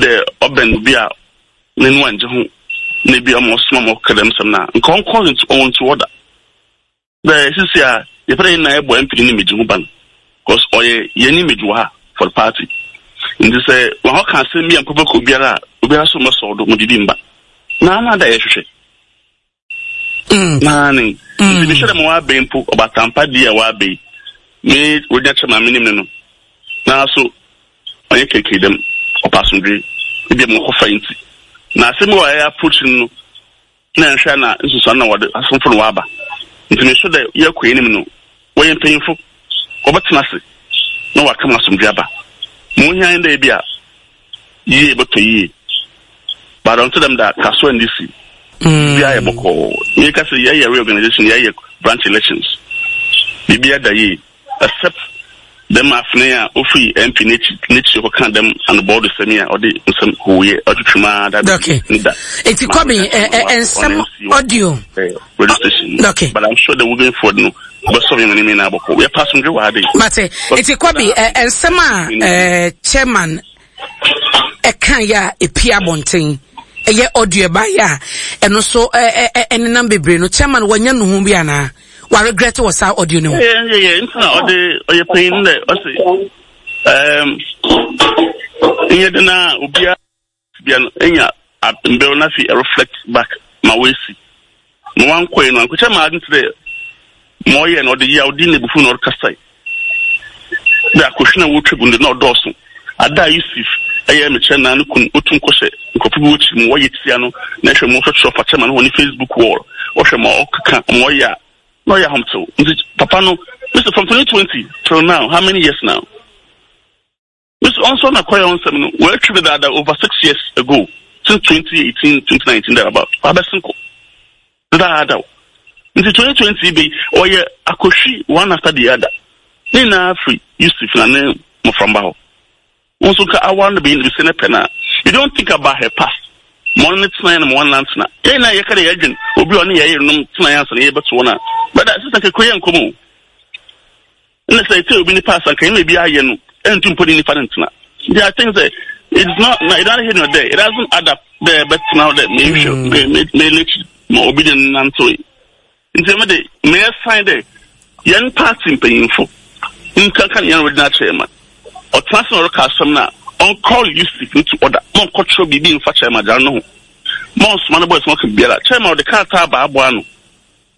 dɛ ɔbɛn obi a n'enyiwa nngye ho na bi a ɔma ɔsoma ma ɔkeka dɛm nsɛm no a, nka ɔnnkɔ ɔnntu hɔ da. Dɛ sisi a yɛpɛ dɛ hɛn nyina yɛbɔ MP no n'image ho ban cos ɔyɛ hɛn image wɔ ha for the party. Ntsi sɛ wɔakɔka asɛm bi a mprovoke obiara a, obiara so mmbɛsɔw do, mo didi mmba. Na ana ada yɛhwehwɛ. Naane. Ntsi mehwɛ dɛ ma ɔaba yi mpo, ɔbatampa di a ɔaba yi, me ogyina kyerɛ ma minyim no no, naaso ɔnnyɛ kɛkɛ dɛm, ɔpɛ asomdwee, ebia ma ɔkɔfae ntsi. Na asɛm bi wɔ hɔ a yɛ approach no no, na nhwɛ a na nsunsuando na wɔde asomfo no wɔaba. Ntsi mehwɛ dɛ yɛkɔ enyim no, wɔyɛ mpanyimfo, wɔbɛtsena ase na wɔaka ma asomdwee aba. Ma ohia nye dɛ ebia yie bɔtɔ yie, but ɔnntse dɛm da, kasoa nndzi si, biribiara yɛ bɔkɔɔ. Meka sɛ yɛyɛ reorganisation, yɛyɛ branch elections, biribiara da yie. Except dɛm afenaa yi a ofii MP n'ekyir n'ekyir kɔkaa dɛm anobɔwdosɛm yi a ɔde nsɛm huuyɛ ɔtwetwe mu ara da Okay. ne da. Eti Kwame, ɛ ɛ nsɛm audio. Radio station. Okay. But I'm sure that we're going forward no. Wɔbɛsɔ yɛn anim nyinaa bɔkɔ. Yɛpɛ asomdwe wɔ ha de. Mate. Eti Kwame, ɛ nsɛm a ɛ chairman ɛka yɛ a epie abɔnten ɛyɛ audio ɛbaayɛ a ɛno nso ɛ ɛ ɛnenam bebree no chairman wanya nuhu bi anaa? Wa regret wɔ saa audio no ho? Yɛ yɛ yɛ nti na ɔde ɔyɛ panyin dɛ ɔse ɛɛm nyɛ de na obiara bia no enya mbew na fi reflect back ma woesi ma wankɔe no ankokyɛ ma ade nti dɛ ma ɔyɛ no ɔde yawdi na ebufu na ɔrekasae dɛ akɔhwi na wɔretwa gu no de na ɔdɔɔso ada a Yusuf ɛyɛ mekyerɛ na ne kun otum kɔhyɛ nkurɔfo bi wɔkyiri mu wɔyɛ tia no na ɛhwɛ mu ɔhwɛkyerɛ ɔfa kyɛ ma no wɔ ne Facebook wall ɔhwɛ ma ɔkeka ma ɔyɛ a na ɔyɛ ahomtew nti papa no Mr. From 2020 till now, how many years now? Mr. Ɔnsɔ na kɔyɛ ɔnsɛm no wɔatwi dedaada over 6 years ago, since 2018, 2019 thereabout, wabɛsen kɔ dedaada nti 2020 bi ɔyɛ akɔhwi one after the other ne nyinaa firi Yusuf na ne mmɔframba hɔ. Wo nso nka awar no bɛyi no bɛsi ne pɛ no a, you don't think about her past, ma ɔno ne tenaeɛ na ma ɔno nantena. Yɛn nyinaa yɛka dɛ yɛdwen obi a ɔne yɛn yerenom tenaeɛ ansa na yɛbɛto wɔn a, brother, sister, nka kuro yɛ nkɔm o. Ɛna sɛ ɛtɛ obi nipa asa nka ɛma bi ayɛ no ɛntu mpo ne nipa no ntena. Nti I think sɛ it's not na it doesn't hit no there, it doesn't add up dɛ ɛbɛtena hɔ dɛ mehwɛ me me n'akyi ma obi de no nantew. Nti emi de meyɛ sign dɛ hɛn party mpanyimfo nkanka ne hɛn regional chairman ɔtsena ase na ɔreka asɛm no a, ɔncall Yusuf no to order ma ɔnkɔkyerɛw biribi mfa chairman dze no ho ma ɔnsoma no boys ma ɔka biribiara. Chairman ɔde krataa aba aboa ano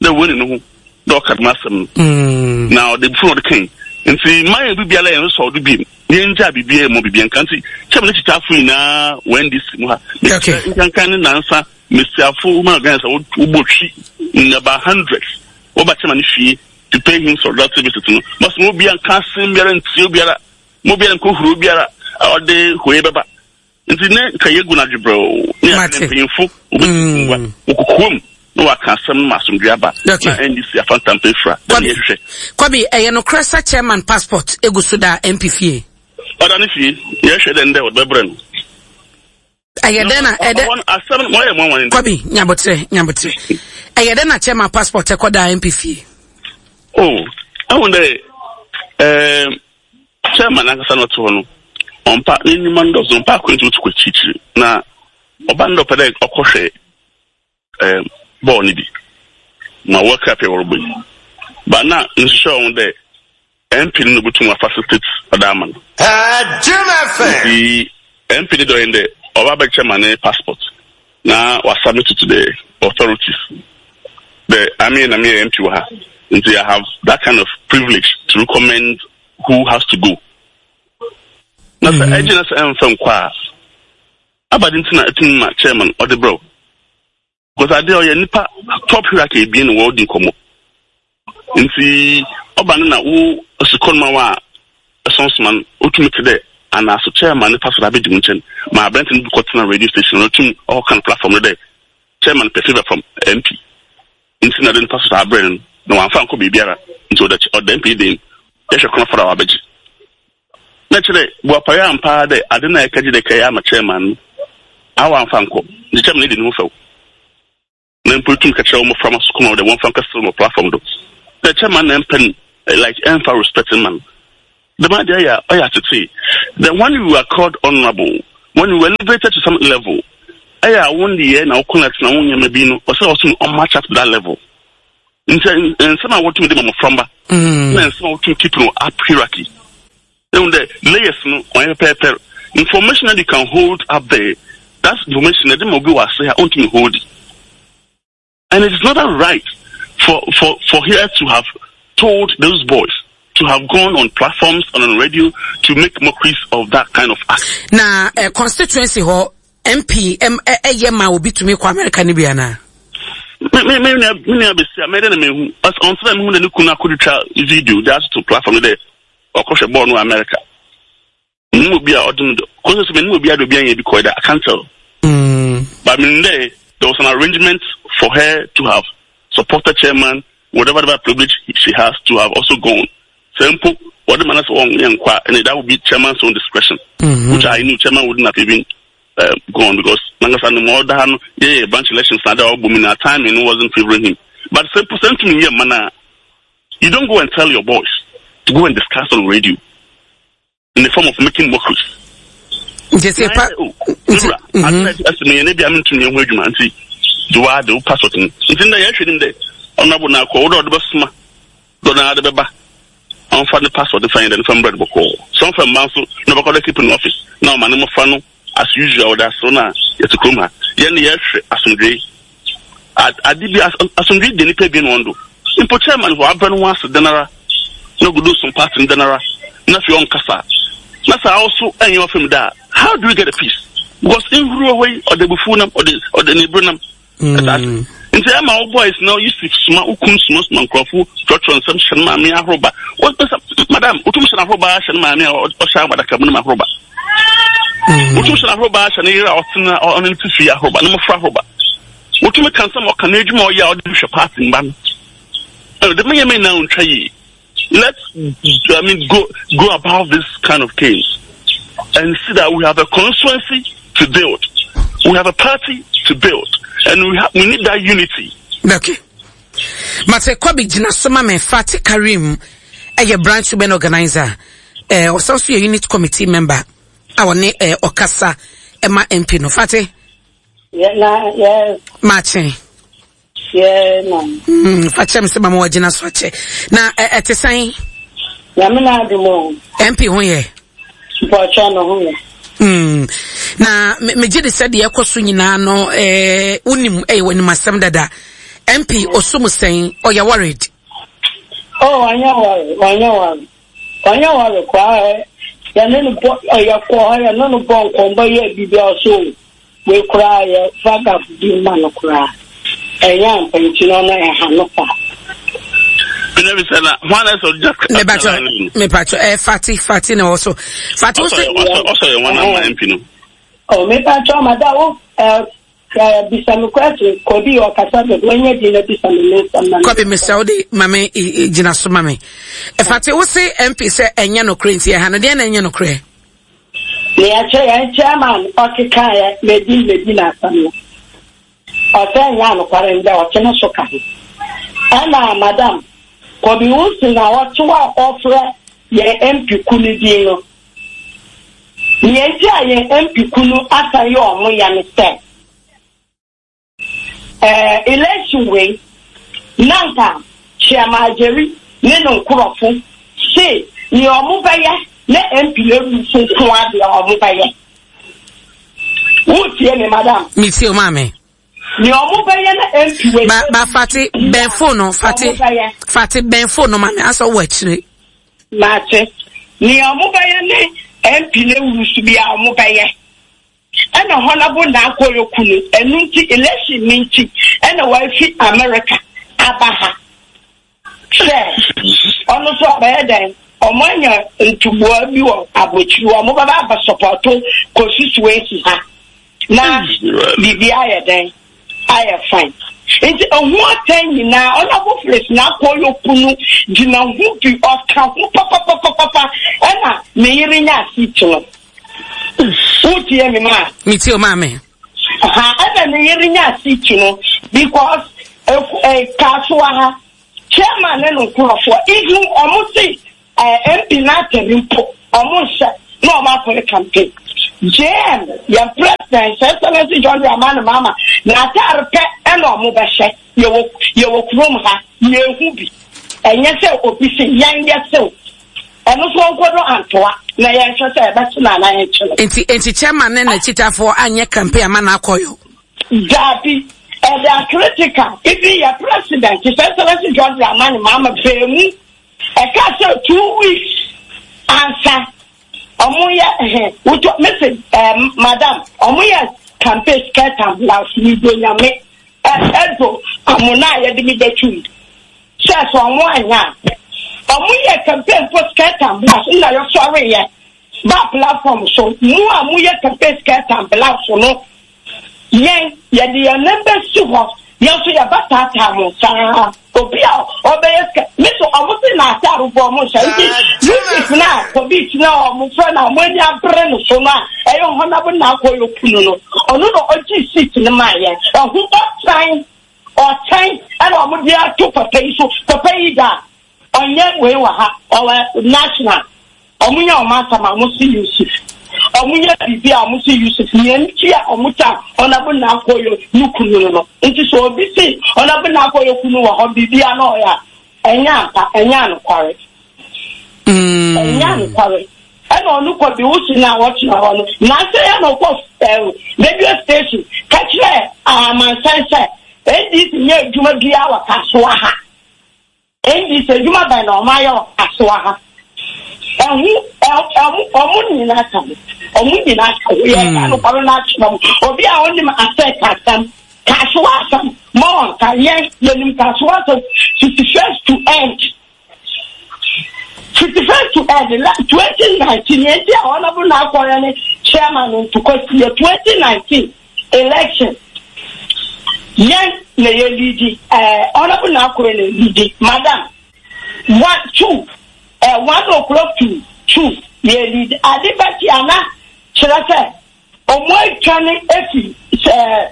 dɛ oenu no ho dɛ ɔka dɛm asɛm no na ɔde ebufuw na ɔde kae ntsi mma yɛn biribiara yɛnnsɔw do bio, yɛngyaa biribiara mu biribiara nka ntsi chairman n'ekyitaafo nyina wɔ NDC mu ha. Okay. Nkankan ne nansa Mbasiafo women organizers a wɔbɔ twi in about hundreds wɔba chairman ne fie to pay him solidarity visit no, wɔsɛ ma obiara nka asɛm biara ntia obiara, ma obiara nkɔhuro obiara a ɔde hwee bɛba. Nti ne nka yɛgu no adwebrɛw ne yɛaka ne mpanyimfo wɔbɛsi ngua wɔ kokoam na wɔaka asɛm no ma asomdwe aba na NDC afa ntampa afira dɛm na yɛhwehwɛ. Kwabi, ɛyɛ nokorɛ sɛ chairman passport egu so da MP fie? Ɔda ne fie, yɛhwɛ dɛn dɛ wɔde bɛbrɛ no. Ɛyɛ dɛn na ɛdɛ Kwabi nyabotrɛ nyabotrɛ ɛyɛ dɛn na chairman passport ɛkɔ da MP fie? Oh, ɛhu dɛ ɛɛm chairman ankasa na ɔte hɔ no ɔmpa ne nnwuma no dɔso, ɔmpa akwantu otu kɔ akyirikyiri na ɔba no dɛ ɔpɛ dɛ ɔkɔhwɛ ɛɛm bɔɔl no bi ma World Cup yɛ wɔrobɔ yi ba na nhyehyɛ wɔn dɛ MP no na obotum ɔafacilitate ɔdze ama no. Ntsi MP no dɛ ɔyɛ nye dɛ ɔba abɛkyɛ ma ne passport na ɔasubmit to the authorities dɛ ame na meyɛ MP wɔ ha ntsi I have that kind of privilege to recommend who has to go. Na sɛ ɛgye na sɛ ɛmmfa nnkɔ a, abɛn ntsi na etum ma chairman ɔdze brɛ wo? Because ade ɔyɛ nipa top hierarchy ebien na wɔredi nkɔmmɔ. Nti ɔba no na wo sukɔ no ma wo a ɛsɔnsoma no otumi te dɛ anaaso chairman ne pastor abɛdi wo nkyɛn ma aberante no bi kɔtena radio station no otum ɔkɔka no platform no dɛ chairman pɛ favour from MP nti na ɔde ne pastor abrɛ no na wamfa ankɔ baabiara nti ɔda ɔda MP dan mu yɛhwɛ kwan fara wabɛgye. Na kyerɛ boapayɛ ampa ara dɛ adze no a ekɛgye dɛ ekɛyɛ ama chairman no a ɔammfa annkɔ ntsi chairman no dzi no ho fɛw na mpo etum kɛkyerɛ wo mboframba sukuu ma dɛ wɔmfa nkɛserew no wɔ platform do dɛ chairman na mmpɛ no like ɛmmfa respect mma no dɛm ade ayɛ a ɔyɛ atsetsee then when you are called honourable. When you elevated to some level, ɛyɛ a wo nneyɛɛ na wo connect na wo nneɛma bi no, ɔsɛ ɔsɛ ɔmatch up to that level. Nti nsɛm a wɔtumi de ma mmɔframma na nsɛm a wɔtumi keep no up hierarchy. Ehu dɛ layers no ɔnyɛ pɛpɛɛpɛr. Information that you can hold up there, that information ɛde ma obi wɔ ase ha ɔntumi hold it. And it is not that right for for for her to have told those boys to have gone on platforms and on radio to make mockeries of that kind of act. Na eh, constituency hɔ MP ɛyɛ ma obi tumi kɔ America no bi anaa? Me me me nua me nua besi a mɛdɛ na mehu ɔnso na mehu na ne kunu akɔtwitwa video de atoto platform no dɛ ɔkɔhwɛ bɔɔl no wɔ America. Menim obi a ɔde no dɔ. Kɔsɛ sɛ menim obi a de obi anyɛ bi kɔɛ da. I can't tell. But menim dɛ there was an arrangement for her to have supported chairman whatever whatever privilege she has to have also gone. Sɛ mpo wɔde ma no sɛ wɔnyɛ nkɔ a ɛnna that would be chairman's own discretion. Which I knew chairman wouldn't have even gone because nankasa no ma ɔda ha no yɛyɛ branch elections na ada a ɔbɔ mu na timing no wasn't favouring him. But sɛ mpo sɛ ntumi nyɛ mma no a you don't go and tell your boys to go and discuss on radio. in the form of making mockeries. Nti sɛ pa nti mhm. ɛsɛ meyɛ ne bia mentumi yɛ ho adwuma nti de waa de wo passport no nti ndɛ yɛhwɛ nim dɛ ɔnabo na akɔ wo dɛ ɔde bɛsoma dɔ na ade bɛba ɔmfa ne passport fa yɛ dɛ ne fa mbrɛ de bɔkɔɔ sɛ ɔmfa mma nso na ɔbɛkɔ dɛ keep in office na ɔma ne mmɔfra no As usual wɔde aserew no a yɛte kurom ha. Yɛn de yɛhwɛ asomdwoe. Ade bi asomdwoe de nnipa abien wɔn do. Mpo chairman hɔ abrɛ no ho ase dɛn ara na ogudo som party no dɛn ara na afei ɔnkasa. Na saa wo so ɛnyɛ w'afam da a, how do we get a peace? Because nhuru wɔ hɔ yi ɔde abufuw nam, ɔde ɔde anibere nam. Ɛte ase. Mm. Nti ɛma wo boys na Yusuf soma wo kun soma soma nkurɔfo twerɛtwerɛ nsɛm hyɛ no maame ahoroba. Wɔsɛ madam wotum hyɛ no ahoroba hyɛ no maame a ɔhyɛ abadaka mu no ahoroba. Mm. Wotum hyɛ no ahoroba hyɛ ne yere a ɔtena ɔne ne ti fie ahoroba ne mmɔfra ahoroba. Wotumi ka nsɛm ɔka n'adwuma ɔyɛ a ɔde hwɛ paati mba no. Ɛno de meyɛ me na ntwa yie. Let's I mean go go about this kind of things and see that we have a constituency to build. We have a party to build, and we have we need that unity. Okay. Mate Kobe gyina so ma me Fati Karim ɛyɛ branch women organizer eh ɔsan so yɛ unit committee member a ɔne eh ɔkasa ɛma MP no Fati. Yeah, na yes. Makye. Hmm, fa kyerɛ me sɛ mama wagyina so akyɛ na ɛte sɛn nyame na adom o mp ho yɛ mpɔkyɛ no ho yɛ hmm. na megye de sɛ deɛ ɛkɔ so nyinaa no eh, wonim ɛyɛ w'anim asɛm dada mp ɔsom sɛn ɔyɛ worried oh ɔnyɛ worried ɔnyɛ worried ɔnyɛ worried koraa eh, yɛne no bɔ yɛkɔ hɔ yɛne no bɔ nkɔmmɔ yɛ biribi ɔso Wei koraa yɛ vagab bi ma no koraa ɛnyɛ ampa nti no ɔno ɛha no saa. Mepatɔ mepatɔ ɛ fati fati na ɔwɔ so fati wosɛ. Ɔsɔ yɛ wɔn ama MP no. Ɔ mepatɔ mada wo ɛ ɛ bisa mi question kɔbi ɔkasa dodo ɛnyɛ di na bisa mi ne nsɛm na. Kɔbi mesrɛ wo de ma me gyina so ma me. Fati wose MP sɛ ɛnyɛ nokorɛ nti ɛha no deɛ na ɛnyɛ nokorɛ. Nea kyɛ yɛn chairman ɔkekaeɛ medi medi n'asɛm no ɔsɛ nyɛ anokware ndɛ ɔte ne so ka ho ɛna madam Kobi Wilson a ɔte hɔ a ɔfrɛ yɛn MP ku no din no nea nti a yɛn MP ku no asan yɛ ɔmo ya ne sɛ Eh, election wei, na nka Chairman Agyeri ne ne nkorɔfo se nea ɔmo bɛyɛ na MP no awufo nko ara deɛ ɔmo bɛyɛ. Wotie me, madam? Metie o, maame. Nea ɔmo bɛyɛ na MP wei. Ba ba fate bɛn phone no fate fate bɛn phone no maame asɛ wɔ akyire. Mate. Nea ɔmo bɛyɛ ne MP no awu so biara ɔmo bɛyɛ. Ɛna Honourable Naa Koyo kunu, ɛno nti election no nti ɛna wafi America aba ha sɛ ɔno nso ɔbɛyɛ dɛn, ɔmo anya ntuboa bi wɔ abrokyiri hɔ, ɔmo bɛba abɛ sɔpɔto constituency ha na biribi ayɛ dɛn ayɛ fine. Nti ɛho atɛn nyinaa Honourable Phyllis Naa Koyo kunu gyina ho bi, ɔka ho papapapapa ɛna ne yere nyaa seat no. Wotie me maa? Metie o maame. Ha ɛna ne yere nya seat no because Kasoa ha chairman ne no nkurɔfoɔ even ɔmo se MP n'atɛre mpo ɔmo nhyɛ na ɔmo akɔyɛ campaign. JM, yɛn president, His Excellency John Dramani Mahama, n'ataare pɛ ɛna ɔmo bɛhyɛ. Yɛwɔ yɛwɔ kurom ha, yɛhu bi. Ɛnyɛ sɛ obi se yɛn yɛsew. Ɛno nso ɔnkɔdɔ antoa na yɛnhwɛ sɛ ɛbɛkye no anaa ɛnkye no. Nti nti chairman ne n'akyitafoɔ anyɛ campaign ama no akɔyɔ? Daabi. Ɛda critical. Even yɛ president, His Excellency John Dramani Mahama baa mu. Ɛkaa sɛ 2 weeks ansa ɔmo yɛ ɛhɛn wotɔ mese ɛɛ madam ɔmo yɛ campaign skirt and blouse mi do nyame ɛ ɛdo amona a yɛde mi bɛtum sɛ sɛ ɔmo anya a ɔmo yɛ campaign for skirt and blouse nna yɛsɔre yɛ ba platform so mu a mo yɛ campaign skirt and blouse no. Yɛn, yɛde yɛn nan bɛsi hɔ, yɛn nso yɛbɛtaataa mo saa. Obi a ɔbɛyɛ sika, me so ɔmo se n'ataare bɔ ɔmo nhyɛ. Nti Yusuf no a kɔbi tena a ɔmo frɛ no a ɔmo ani abere no so no a ɛyɛ hɔnabo na akɔyɛ kunu no, ɔno na ɔgye seat no maa yɛn. Ɛho ɔtan, ɔtan ɛna ɔmo de ato papa yi so. Papa yi da ɔnyɛ wei wɔ ha, ɔwɔ national. Ɔmo nya ɔmo asɛm a ɔmo se Yusuf. Ɔmo nya biribi a ɔmo se Yusuf. Nea nti a ɔmo tan Ɔnabo Naakoyo no kunu no no. Nti sɛ obi se Ɔnabo Naakoyo kunu wɔ hɔ biribi a na ɔyɛ a, ɛnyɛ ampa, ɛnyɛ anokware. Ɛnyɛ anokware. Ɛna ɔno kɔ bi wosi no a ɔtena hɔ no, nansa yi na ɔkɔ ɛɛ radio station ka kyerɛɛ amansan sɛ NDC nyɛ adwuma biara wɔ Kasoa ha. Ɛnde sɛ adwuma bɛn na wɔayɛ wɔ Kasoa ha? Ɛho ɛ ɔmo nyinaa ka ho. Ɔmo nyinaa ka ho. Yɛka hmm. nokware no akyerɛ mo. Obi a ɔnim asɛ kasɛm, Kasoa asɛm, ma ɔnka. Yɛn yɛnim Kasoa asɛm fiti first to end. Fiti first to end. Na 2019 yɛn ti a ɔnabɔ na akɔyɛ ne chairman ntukɔsi yɛ 2019. Election yɛn na yɛ leadi ɛɛ honourable Nakore na leadi madam one two ɛɛ 1 o'clock to 2 yɛ leadi ade bɛkye ana kyerɛ sɛ ɔmo atwa ne efi ɛɛ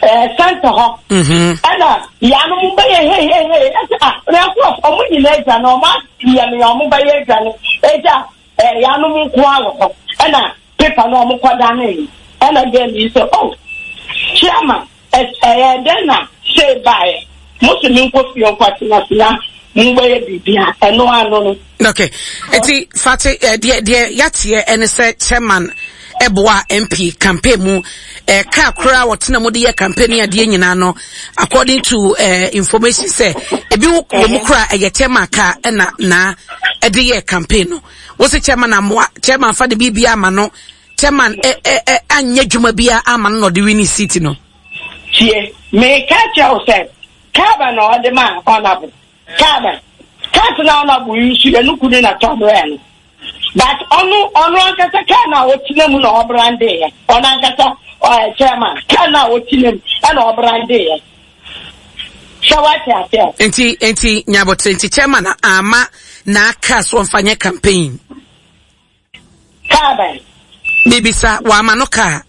ɛɛ center hɔ ɛna yanom bɛyɛ hehehe ɛsɛ ah na ɔmo nyinaa adwane ɔmo ayɛ nea ɔmo bɛyɛ adwane egya ɛɛ yanom nko ara wɔ hɔ ɛna paper no ɔmo kɔ danee ɛna girl yi sɛ oh chairman ɛyɛ dɛn na sei baeɛ mo se me nkɔ fie nkɔ tena ase na mo bɛyɛ biribi a ɛno ano no. Okay, eti fati eh, deɛ deɛ yateɛ ɛne sɛ chairman ɛboa MP campaign mu eh, kaa koraa wɔtena mu de yɛ campaign ne adeɛ nyinaa no according to eh, information sɛ ebi wɔ mu koraa ɛyɛ chairman kaa ɛna na ɛde yɛ campaign no. Wose chairman amoa, chairman fa de biribi ama no, chairman ɛ ɛ ɛ anyɛ dwuma biara ama no na ɔde wini seat no. Tie, meka kyerɛ wo sɛ kaa na ɔde maa Honourable, kaa bɛn? Cars na Honourable yi nso yɛ no kunu na tɔ brɛɛ no. But ɔno ɔno ankasa kaa na ɔtena mu na ɔbrandeeɛ. Ɔno ankasa ɔyɛ chairman, kaa na ɔtena mu ɛna ɔbrandeeɛ. Sɛ wate aseɛ. Nti nti nyabotere nti chairman ama na aka so ɔmfa nyɛ campaign. Kaa bɛn. Bibisa wama no kaa.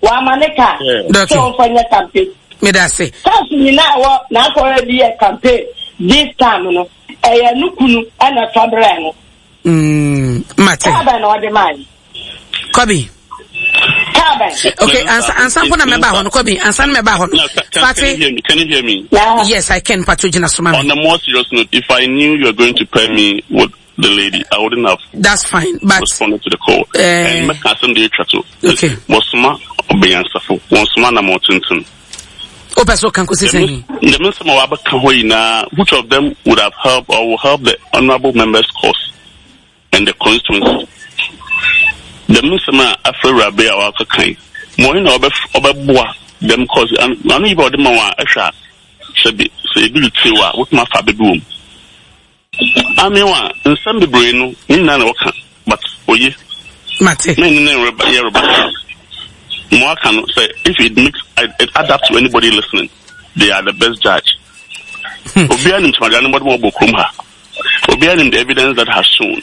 Wama ne kaa. Sɛ ɔmfa nyɛ campaign. Meda ase. Cars nyinaa wɔ n'akɔrɔ bi yɛ campaign this time no ɛyɛ no kunu ɛna tɔbrɛ no. Mate. Kaa bɛn na ɔde maa yi. Kɔbi. Okay, ansa ansa mpo na mɛba hɔ no Kɔbi ansa na mɛba hɔ no. Fati. Can you hear me? Can you hear me? Yes, I can. Pato gyina so ma me. On a more serious note, if I knew you were going to pair me with the lady, I wouldn't have. That's fine, but responded to the call. And mɛka asɛm de atwa to. Okay. Wɔsoma ɔbɛnyansafo, wɔnsoma anamɔ tenten. O pɛ so kan ko sisan. Dɛm nsɛm a wabɛka hɔ nyinaa, which of them would have helped or will help the honourable members cause? And the constituency. Dɛm nsɛm a afra awuraba yi a ɔakɛka yi, ma ɔnye na ɔbɛboa dɛm cause yi. Ano yi ba ɔde ma wo a, ehwɛ a, sɛbe sɛ ebi retsie wo a, wotum afa aba bi wɔ mu. Ame a, nsɛm beberee no, ne nyina na wɔka, but oye. Mate. Me ne ne reba yɛ reba. Ma ɔaka no, sɛ if it makes it add up to anybody listening, they are the best judge. Obiara nim Tsemadza no mbɔdze ma ɔbɔ kurom ha. Obiara nim the evidence that has shown.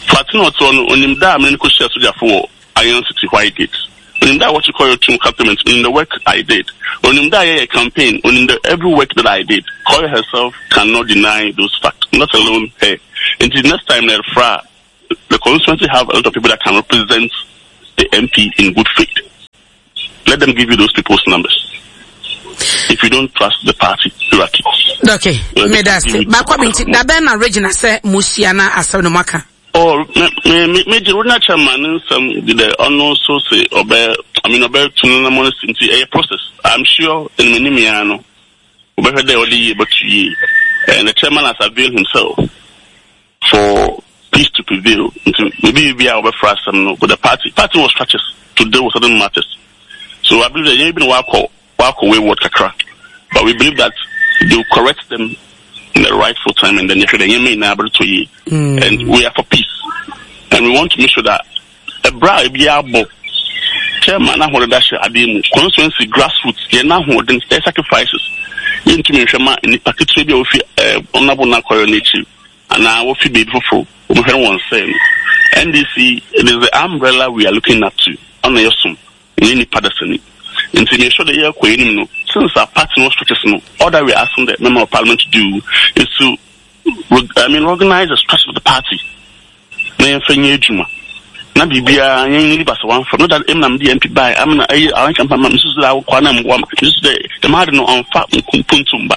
Fati na ɔte hɔ no, onim da a me ne no kɔhyia sogyafo wɔ Iron City White Gate. Onim da a wɔkye kɔyɛ tum supplement, onim the work I did. Onim da a yɛyɛ campaign, onim the every work that I did. Kɔyɛ herself cannot deny those facts, not alone her. Nti next time na ɛfra a, the constituency have a lot of people that can represent. the MP in good faith. Let them give you those people's numbers. If you don't trust the party hierarchy. Okay, me that's it. Baako bi nti dabɛn na Regina sɛ mo hyia na asɛm no mo aka. Oh, me me me me gye Regina chairman ne nsɛm di dɛ ɔno nso se ɔbɛ I mean ɔbɛ tu no na mo si nti ɛyɛ process. I'm sure ɛnum anim ya no ɔbɛhwɛ dɛ ɔde yie bɛto yie. And the chairman has availed himself. for peace to prevail nti maybe bi a wɔbɛfra asɛm no with the party party wɔ structures to deal with certain matters so I believe that yɛn bi na wakɔ wakɔ wayward kakra but we believe that they will correct them in the rightful time and then yɛhwɛ dɛ nneɛma nyinaa bɛtotɔ yie and we are for peace and we want to make sure that ɛbrɛ a ebi abɔ chairman n'ahoɔden da hyɛ adeɛ mu constituency grassroots yɛn n'ahoɔden yɛ sacrifices yɛntumi nhwɛ ma nipa ketewa bi a wofi ɛɛ ɔnabo n'akɔyɔ n'akyi anaa wofi baabi foforo wɔhwɛ no wɔn sɛɛ no NDC it is the umbrella we are looking up to ɔna yɛ som nyɛ nipa dasani nti mehwɛ dɛ yɛkɔ yɛn anim no since our party no structures no all that we are asking the member of parliament to do is to I mean organize the structure of the party na yɛmfa nyɛ adwuma na biribiara yɛn nyɛ basa wɔamfa no da ɛmu na mede MP bae amena ɛyɛ awankyɛ mpa ma mesusu dɛ awokɔ na mboa ma mesusu dɛ dɛm ade no ɔmfa mpuntu mba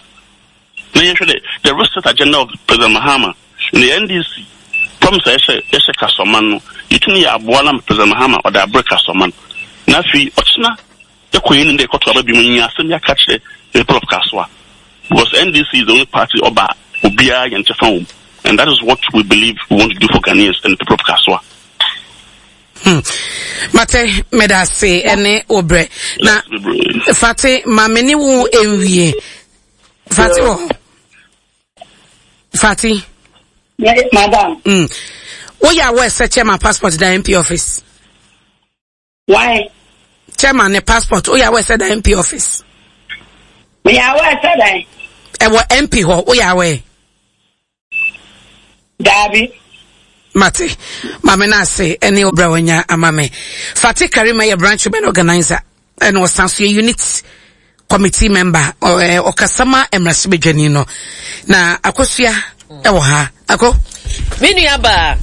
na yɛhwɛ dɛ the reset agenda of President Mahama and the NDC promise a yɛhyɛ yɛhyɛ Kasɔman no yɛtumi yɛ aboa na President Mahama ɔde abrɛ Kasɔman na afei ɔkyena yɛkɔ yɛn nim dɛ yɛkɔto aba bi mu nyɛ asɛm yɛaka kyerɛ the people of Kasoa because NDC is the only party ɔba obiara yɛn kyɛfa wɔ mu and that is what we believe we want to do for Ghanaians and the people of Kasoa. Hmm. Mate, meda ase ɛne wo brɛ. Na Fate, ma me ne wo nwie. Fati wɔ hɔ. Fati. Madam. Mm. Woyɛ awɔ ɛsɛ chairman passport da MP office. Why? Chairman ne passport woyɛ awɔ ɛsɛ da MP office. Meyɛ awɔ ɛsɛ dan. Ɛwɔ MP hɔ woyɛ awɔ ɛ. Daabi. Mate. Maame no ase ɛne ɔbrɛ wanya ama me. Fati Karima yɛ branch women organizer ɛna ɔsan so yɛ unit committee member ɔkasa ma mmarahyɛbadwani no. Na akosua ɛwɔ ha. Ako. Me nua baa.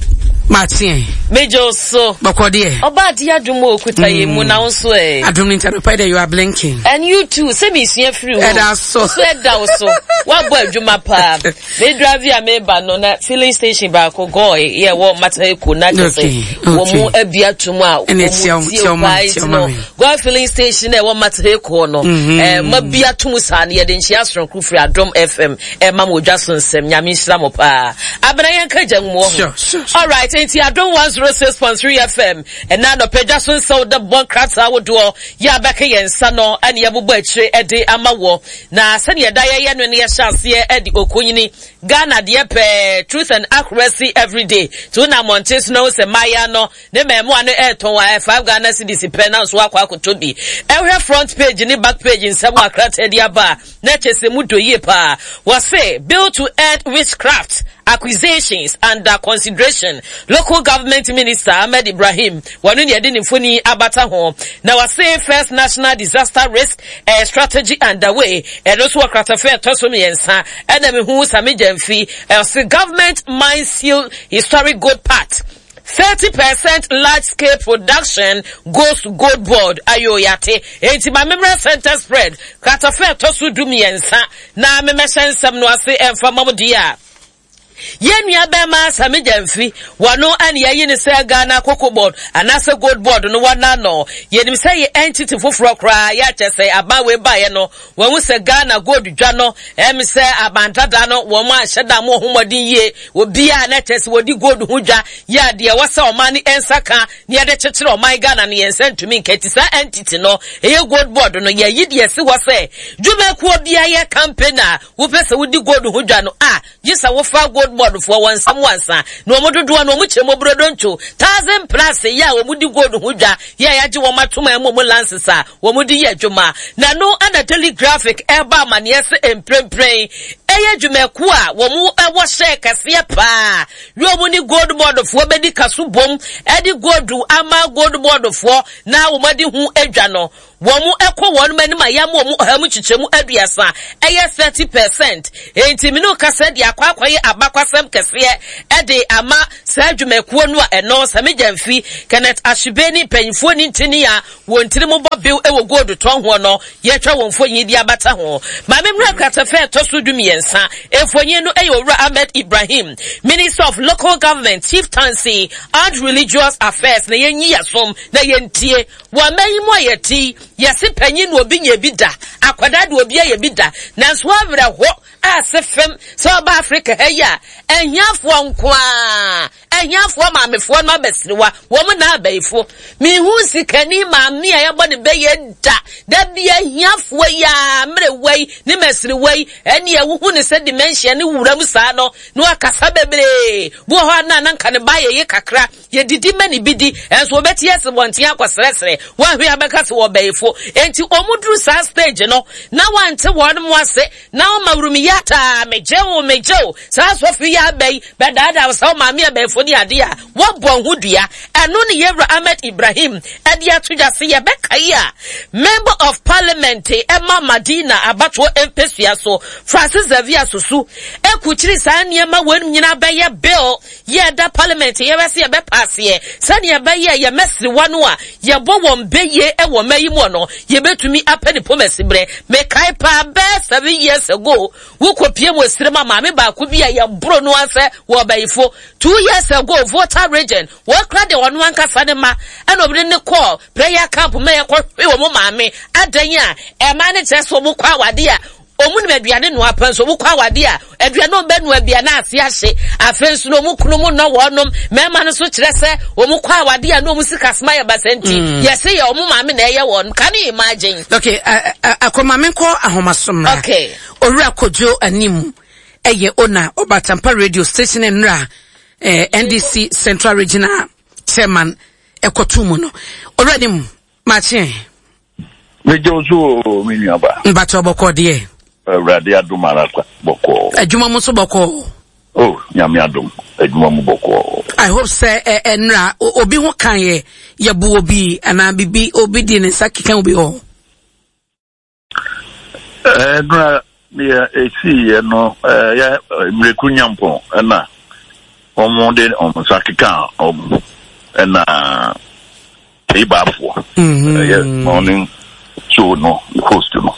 Mateɛ. Mejo so. Bɔkɔ deɛ. Ɔba adi adum o kuta yɛ mu na nso ɛ. Adum ni nti anɔpa yi deɛ you are blinking. And you too sɛ mi sua firi wo. Ɛda so. So ɛda wo so. Wabɔ adwuma paa. Me drive a meba no na filling station baako gɔɔ yɛ wɔ Mataheko na kyɛ sɛ wɔn mu abi atum a wɔn tie paa nti no gɔɔ filling station na ɛwɔ Mataheko no ɛɛ ma bi atum saa no yɛde nhyia soronko firi Adom FM ɛma mo odwa so nsɛm nyame nhyira mo paa abena yɛn ka gya mu wɔ ho alright nti Adom 106.3 FM ɛna anɔpɛ dwa so nsɛw dɛ bɔ nkrataa wodoɔ yɛ abɛka yɛn nsa no ɛne yɛbobɔ akyire ɛde ama wɔ Na sɛdeɛ da yɛyɛ no no yɛhyɛ aseɛ de okonyini Ghana deɛ pɛɛ truth and accuracy everyday nti wonam mmɔnten so na wohu sɛ mmaayewa no ne mmaamua no ɛretɔn a 5 Ghana cedis pɛ na nso wakɔ akɔtɔ bi. Ɛhwɛ front page ne back page nsɛm wɔ akrataa di aba a na kyerɛ sɛ mu dɔ yie paa. Wɔse bill to end witchcraft accusations under consideration local government minister Ahmed Ibrahim wɔno ne yɛde ne mfoni abata ho na wɔse first national disaster risk Ɛyɛ strategy underway. Ɛno nso wɔ kratafa ɛtɔ so mmiɛnsa. Ɛna mehu Sami Gyamfi. Ɛse government mine seal historic gold part. 30% large scale production goes to gold board. Ayo yate. Enti ma memrɛ center spread. Kratafa ɛtɔ so du mmiɛnsa. Na memɛhyɛ nsɛm no ase ɛmfa ma mo deɛ a. Yɛn nua bɛɛma Sammy Gyamfi, wɔno ɛne yɛayi no sɛ Ghana Cocoa Board anaasɛ Gold Board no wɔn ano. Yɛnim sɛ yɛ entity foforɔ koraa yɛ akyɛ sɛ aban wei baeɛ no wɔahu sɛ Ghana gold dwa no ɛm sɛ aban dada no wɔn anhyɛ da mo ho mmɔden yie. Obiara na kyɛ sɛ wɔdi gold ho dwa yɛ adeɛ ɛwɔ sɛ ɔman no nsa ka na yɛde kyekyere ɔman Ghana no yɛn nsa ntumi nka ti saa entity no ɛyɛ gold board no yɛyi deɛ ɛsi hɔ sɛ dwumakuo biara yɛ campaign a wopɛ sɛ wodi gold ho dwa no a Gye sɛ wofa gold board foɔ wɔn nsam ansa na wɔn dodoɔ no wɔn kyerɛ mu obrodonto thousand plus yɛ a wɔn di gold ho dwa yɛ a yɛagye wɔn atom a ɛma wɔn lances a wɔn de yɛ adwuma na no ɛna Daily Graphic ɛreba amaneɛ sɛ mprempren. Ɛyɛ dwumakuo a wɔn wɔ hyɛɛ kɛseɛ paa yɛ wɔn ne gold board foɔ bɛdi kaso bom de gold ama gold board foɔ na wɔn adi ho adwa no. Wɔn kɔ wɔn anim a yɛama wɔn ɔha mu nkyekyɛmu aduasa, ɛyɛ 30%. Enti me ne wo kasa de akɔ akɔyɛ abakwasɛm kɛseɛ de ama saa dwumakuo no a ɛno Sami Gyamfi, Kenneth Ashibe ne mpanyinfoɔ ni ntini a wɔn tirim bɔ bew wɔ gold tɔn hoɔ no, yɛtwa wɔn mfonyin de abata ho. Maame mmra kratafa a ɛtɔ so dumiɛnsa. Mfonyin no yɛ Owura Ahmed Ibrahim, Minister of Local Government, Chieftaincy and Religious Affairs na yɛnyi yɛasom na yɛntie. Wɔ aman yi mu a yɛte yi, yɛse panyin na obi nyɛ bi da, akwadaa de obi ayɛ bi da, nanso awerɛho a ase fam sɛ ɔba Afrika ha yi a, ahiafoɔ nko ara, ahiafoɔ maamefoɔ no abasiriwa, wɔn na abayifo. Minhu sikani maame a yɛabɔ ne bɛyɛ da, da bi ahiafoɔ yi a mmerewa yi ne masiriwa yi, ɛne wohu ne sɛ dementia ne wura mu saa no, na wakasa bebree. Bi wɔ hɔ a na na nka ne ba yɛye kakra, Yɛdidi ma ne bi di, nso wɔbɛte asi mmɔnten akɔsrɛsrɛ. Woahwɛ a bɛka sɛ wɔbɛyifo. Enti wɔn duru saa stage no, na wɔante wɔn mo ase, na wɔma wurumiyɛ ataa, megye wo, megye wo. Saa asɔfo yi aba yi, bɛdaadaa wo sɛ wo maame yɛ bɛyifo ne adeɛ a, wɔbɔ ho dua. Ɛno ne Yɛwura Ahmed Ibrahim de ato dwa sɛ yɛbɛkae a, Member of Parliament ma Madina abatoɔ mpesua so, Francis Xavier Susu, kukyiri saa nneɛma weinom nyinaa bɛyɛ bill Yɛ da parliament yɛbɛ sɛ yɛbɛ paaseɛ sɛdeɛ ɛbɛyɛ yɛ mɛsiriwa no a yɛbɔ wɔn bɛyie wɔ mma yi mu no yɛbɛtumi apɛ ne pomasi berɛ. Mekae paa bɛɛ 7 years ago wokɔ pie mu esire ma maame baako bi a yɛboro no ansɛ wɔ ɔbɛyifo 2 years ago Volta region wɔkura deɛ ɔno ankasa ne ma ɛna ɔbɛde ne kɔɔ prayer camp ma yɛkɔ hwe wɔn maame adan a ɛma ne kyerɛ sɛ wɔn kɔ awade a Wɔn nim aduane noa pa nso, wɔn kɔ awade a, aduane a wɔbɛnoa bia na ase ahye. Afei nso na wɔn kunu mu nnɔ wɔnom. Mmarima no nso kyerɛ sɛ wɔn kɔ awade a na wɔn sika soma yɛ basa nti, yɛse yɛ wɔn maame na ɛyɛ wɔn. Can you imagine? Okay, akɔma menkɔ ahomaso mmra. Okay. Owura Kojo Anim ɛyɛ owner Ɔbatampa radio station nnura eh, NDC Central Regional Chairman ɛkɔto mu no. Owura Anim, makye. Megye wo so o, me nuaba. Mpakyɛ bɔkɔɔ deɛ. Awurade adom ara kwa bɔkɔɔ. Adwuma mu nso bɔkɔɔ. Oh, nyame adom, adwuma mu bɔkɔɔ. I hope sɛ ɛ ɛ nnra obi ho kan yɛ yɛbu obi anaa bibi obi di ne nsa keka obi hɔ. Nnra deɛ ɛsiiɛ no yɛ mmireku nyampɔn ɛna wɔn de wɔn nsa keka wɔn ɛna Teibafoɔ. Ɛyɛ morning show no host no.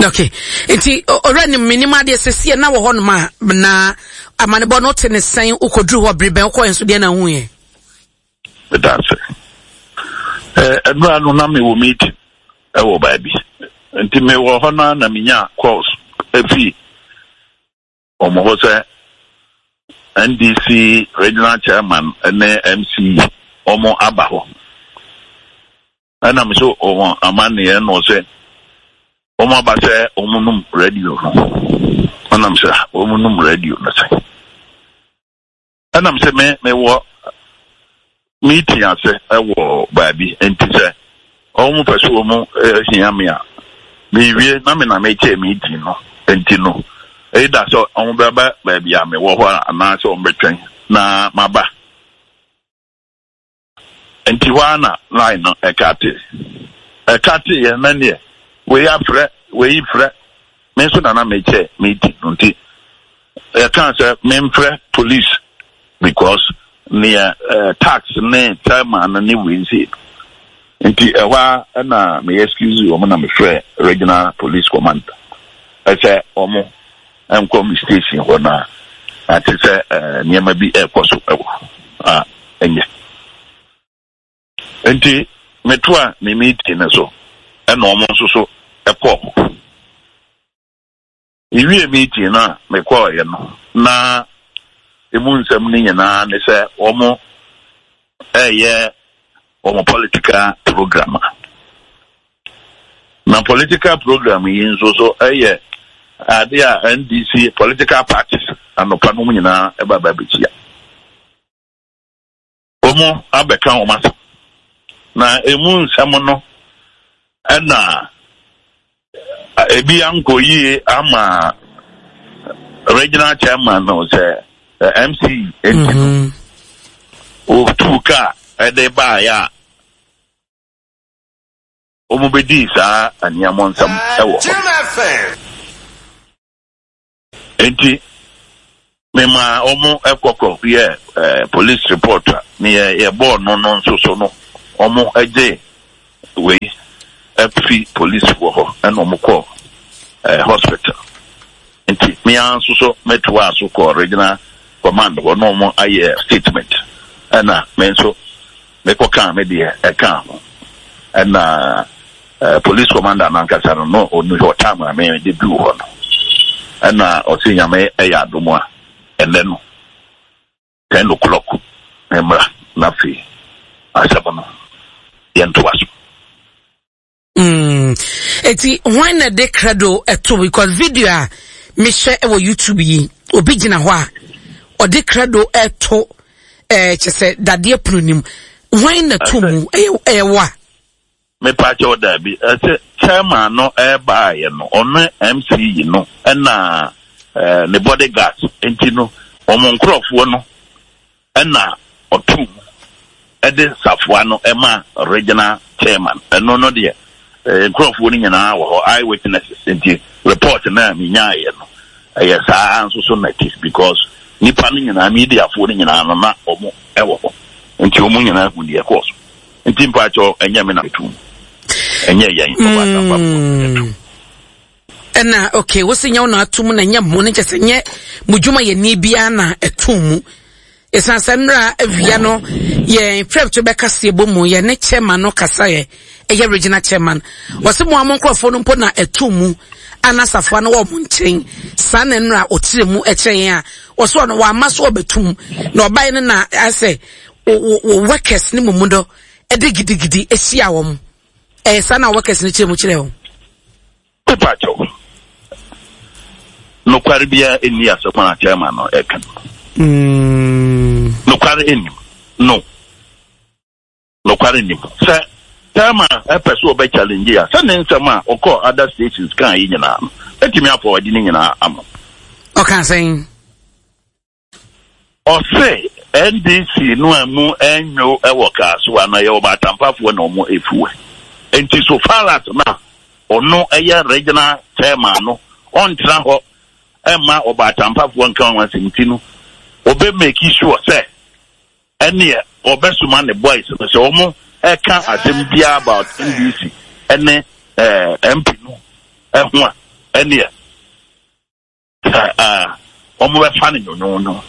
Okay. Nti owura nim menim adeɛ sɛsiɛ na wɔ hɔ nom a na amanebɔ no te ne sɛn wokɔduru hɔ bere bɛn wokɔɛ nso deɛ na huiɛ? Meda ase. Ɛnora no na mewɔ meeting ɛwɔ baabi. Nti mewɔ hɔ no na menya calls ɛfii wɔn hɔ sɛ NDC regional chairman ne MC wɔn aba hɔ. Ɛna me so wɔn amanneɛ no sɛ wɔn aba sɛ wɔn num radio no. Ɛna me sɛ wɔn num radio no sɛ. Ɛna me sɛ me mewɔ meeting ase wɔ baabi nti sɛ wɔn pɛ so wɔn hia me a mewie na me na mekyɛ meeting no nti no either sɛ wɔn bɛba baabi a mewɔ hɔ a anaasɛ wɔn bɛtwɛn na maba. Nti hɔ ara na line no ɛkate. Ɛkateeɛ na neɛ wei afrɛ, wei frɛ. Me nso na na mekyɛ meeting no nti yɛkaa sɛ memfrɛ police because neɛ eh, tax ne chairman no ne wei nsi no. Nti ɛhɔ ara na me excuse wɔn na mefrɛ regional police commander ɛsɛ wɔn nkɔ me station hɔ na ate sɛ nneɛma bi ɛrekɔ so ɛwɔ hɔ a ɛnyɛ. Nti metoa me meeting no so ɛna wɔn nso so ɛkɔɔ hɔ. Mewie meeting no a mekɔɔeɛ no na emu nsɛm no nyinaa ne sɛ wɔn ɛreyɛ wɔn political program a na political program yi nso so ɛyɛ ade a NDC political parties anɔpa no nyinaa ɛba ba bɛkyia. Wɔn abɛka wɔn asɛm na emu nsɛm no ɛna ebi ankɔ yie ama. Regional chairman no sɛ MC nti no otuu kaa ɛde baeɛ a wɔbɛdii saa nneɛma nsɛm wɔ hɔ. Enti memaa wɔn kɔkɔ yɛ police report a meyɛ yɛbɔɔ no no nso so no wɔn gye wei fi police wɔ hɔ ɛna wɔn kɔ hospital. Nti me ara nso so metoaa so kɔɔ regional command hɔ na wɔn ayɛ statement ɛna me nso mekɔkaa me deɛ ɛkaa ho ɛna eh, police commander no ankasa no no ɔnu hɔ time a me de duu hɔ no ɛna ɔse nyame ɛyɛ adom a ɛnɛ no 10 o'clock mmra na afei asɛm no yɛntoa so. Eti hwan na ɛde credo ɛto because video a mehwɛ wɔ YouTube yi obi gyina hɔ a ɔde credo ɛto ɛɛ kyɛ sɛ dadeɛ pono nim hwan na to mu ɛyɛ ɛyɛ wo a. Mepa kyɛw daabi ɛsɛ chairman no ɛbaayɛ no ɔno MC yi no ɛna ɛɛ ne bodyguards nti no wɔn nkorɔfoɔ no Ɛna ɔtoo mu de safoa no maa regional chairman. Ɛno no deɛ nkurɔfoɔ no nyinaa wɔ hɔ, eye witnesses, nti report no a menyaeɛ no ɛyɛ saa ara nso so na ɛte because nnipa no nyinaa, mediafoɔ no nyinaa no na wɔn wɔ hɔ, nti wɔn nyinaa hu deɛ ɛkɔɔ so. Nti mpakyɛw ɛnyɛ me na meto mu, ɛnyɛ yɛn ɔbaatampafoɔ na ɛto mu. Ɛna okay wosi nyɛ wo na ato mu na nyɛ mo ne kyɛ sɛ nyɛ mo dwuma yɛ ni biara na ɛto mu ɛsan sɛ nnora awia no yɛn prɛpto bɛka seɛ bɔ mu yɛ ne chairman no kasa yɛ ɛyɛ regional chairman wɔsi mo a mo nkorɔfoɔ no mpo na ɛto mu ana asafoa no wɔ mo nkyɛn saa na nnora ɔkyerɛ mu ɛkyerɛ yɛn a wɔso ɔno wɔama so ɔbɛtum na ɔbaeɛ no na asɛ wɔ workers ne mu mu dɔ ɛde gidigidi ahyia wɔn Ɛyɛ saa na workers no kyerɛ mu kyerɛ wo. Pepa kyɛw. Nokware biara nni asɛm a chairman no ɛka no. Nokware nnim. No. Nokware nnim. Sɛ chairman ɛpɛ so ɔbɛ challenge a, sɛ ne nsɛm a ɔkɔɔ other stations kaa yi nyinaa no, ɛtumi afɔwadi ne nyinaa ama. Ɔka sɛn? Ɔse NDC no a mu ɛnwo wɔ Kasoa no ɛyɛ ɔbaatampafoɔ na ɔmo efuɛ. Nti so far as na ɔno ɛyɛ regional chairman no ɔntena hɔ ɛmma ɔbaatampafoɔ nka wɔn asɛm nti no ɔbɛ make sure sɛ ɛneɛ ɔbɛsoma ne boys no sɛ ɔmo ɛka asɛm biara about NDC ɛne ɛɛ MP no ɛho a ɛneɛ Wɔbɛfa no nwonwonwo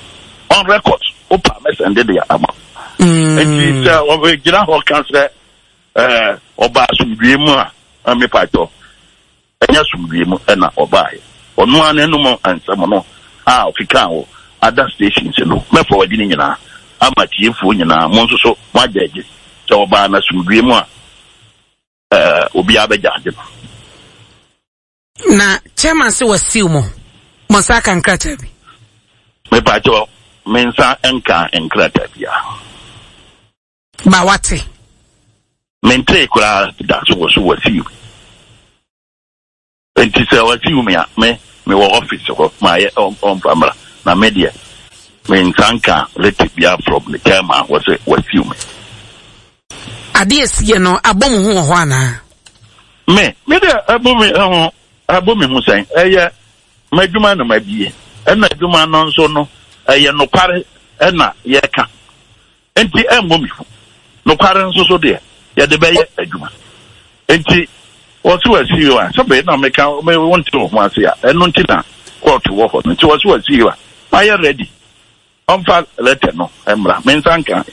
on record. Wopa mɛsɛnde de ama. Nti sɛ ɔgyina hɔ ka sɛ ɔba asomdwoe mu a, mepa kyɛw, ɛnyɛ asomdwoe mu ɛna ɔbaeɛ. Ɔno ara n'anom nsɛm no a ɔkekaa wɔ other stations no, mɛfa wadi ne nyinaa ama tiefoɔ nyinaa. Mo nso so moagyɛgye sɛ ɔbaa no asomdwoe mu a, obiara bɛgyagye no. Na chairman se wasiw mo. Mo nsa aka nkrataa bi. Mepakyɛw, me nsa nka nkrataa bia. Ba wate. Mentee koraa da so wɔ so wasiw. Nti sɛ wasiw me a, me mewɔ office hɔ ma yɛ ɔmfa mmra. Na me deɛ me nsa nka letter bia from the chairman hɔ sɛ wasiw me. Ade a ɛsiiɛ no abɔ mo ho wɔ hɔ anaa? Me, me deɛ ɛbɔ me ho, ɛbɔ me ho sɛn? Ɛyɛ m'adwuma na mabie, ɛna adwuma no nso no, ɛyɛ nokware ɛna yɛka. Nti ɛmmɔ me hu. Nokware nso so deɛ, yɛde bɛyɛ adwuma. Nti, wɔse wasi a, sɛbe na meka, me wonte wo ho ase a, ɛno nti na kɔɔto wɔ hɔ no. Nti wɔse wasi a, mayɛ ready. Ɔmfa lɛtɛ no mmra, me nsa nka.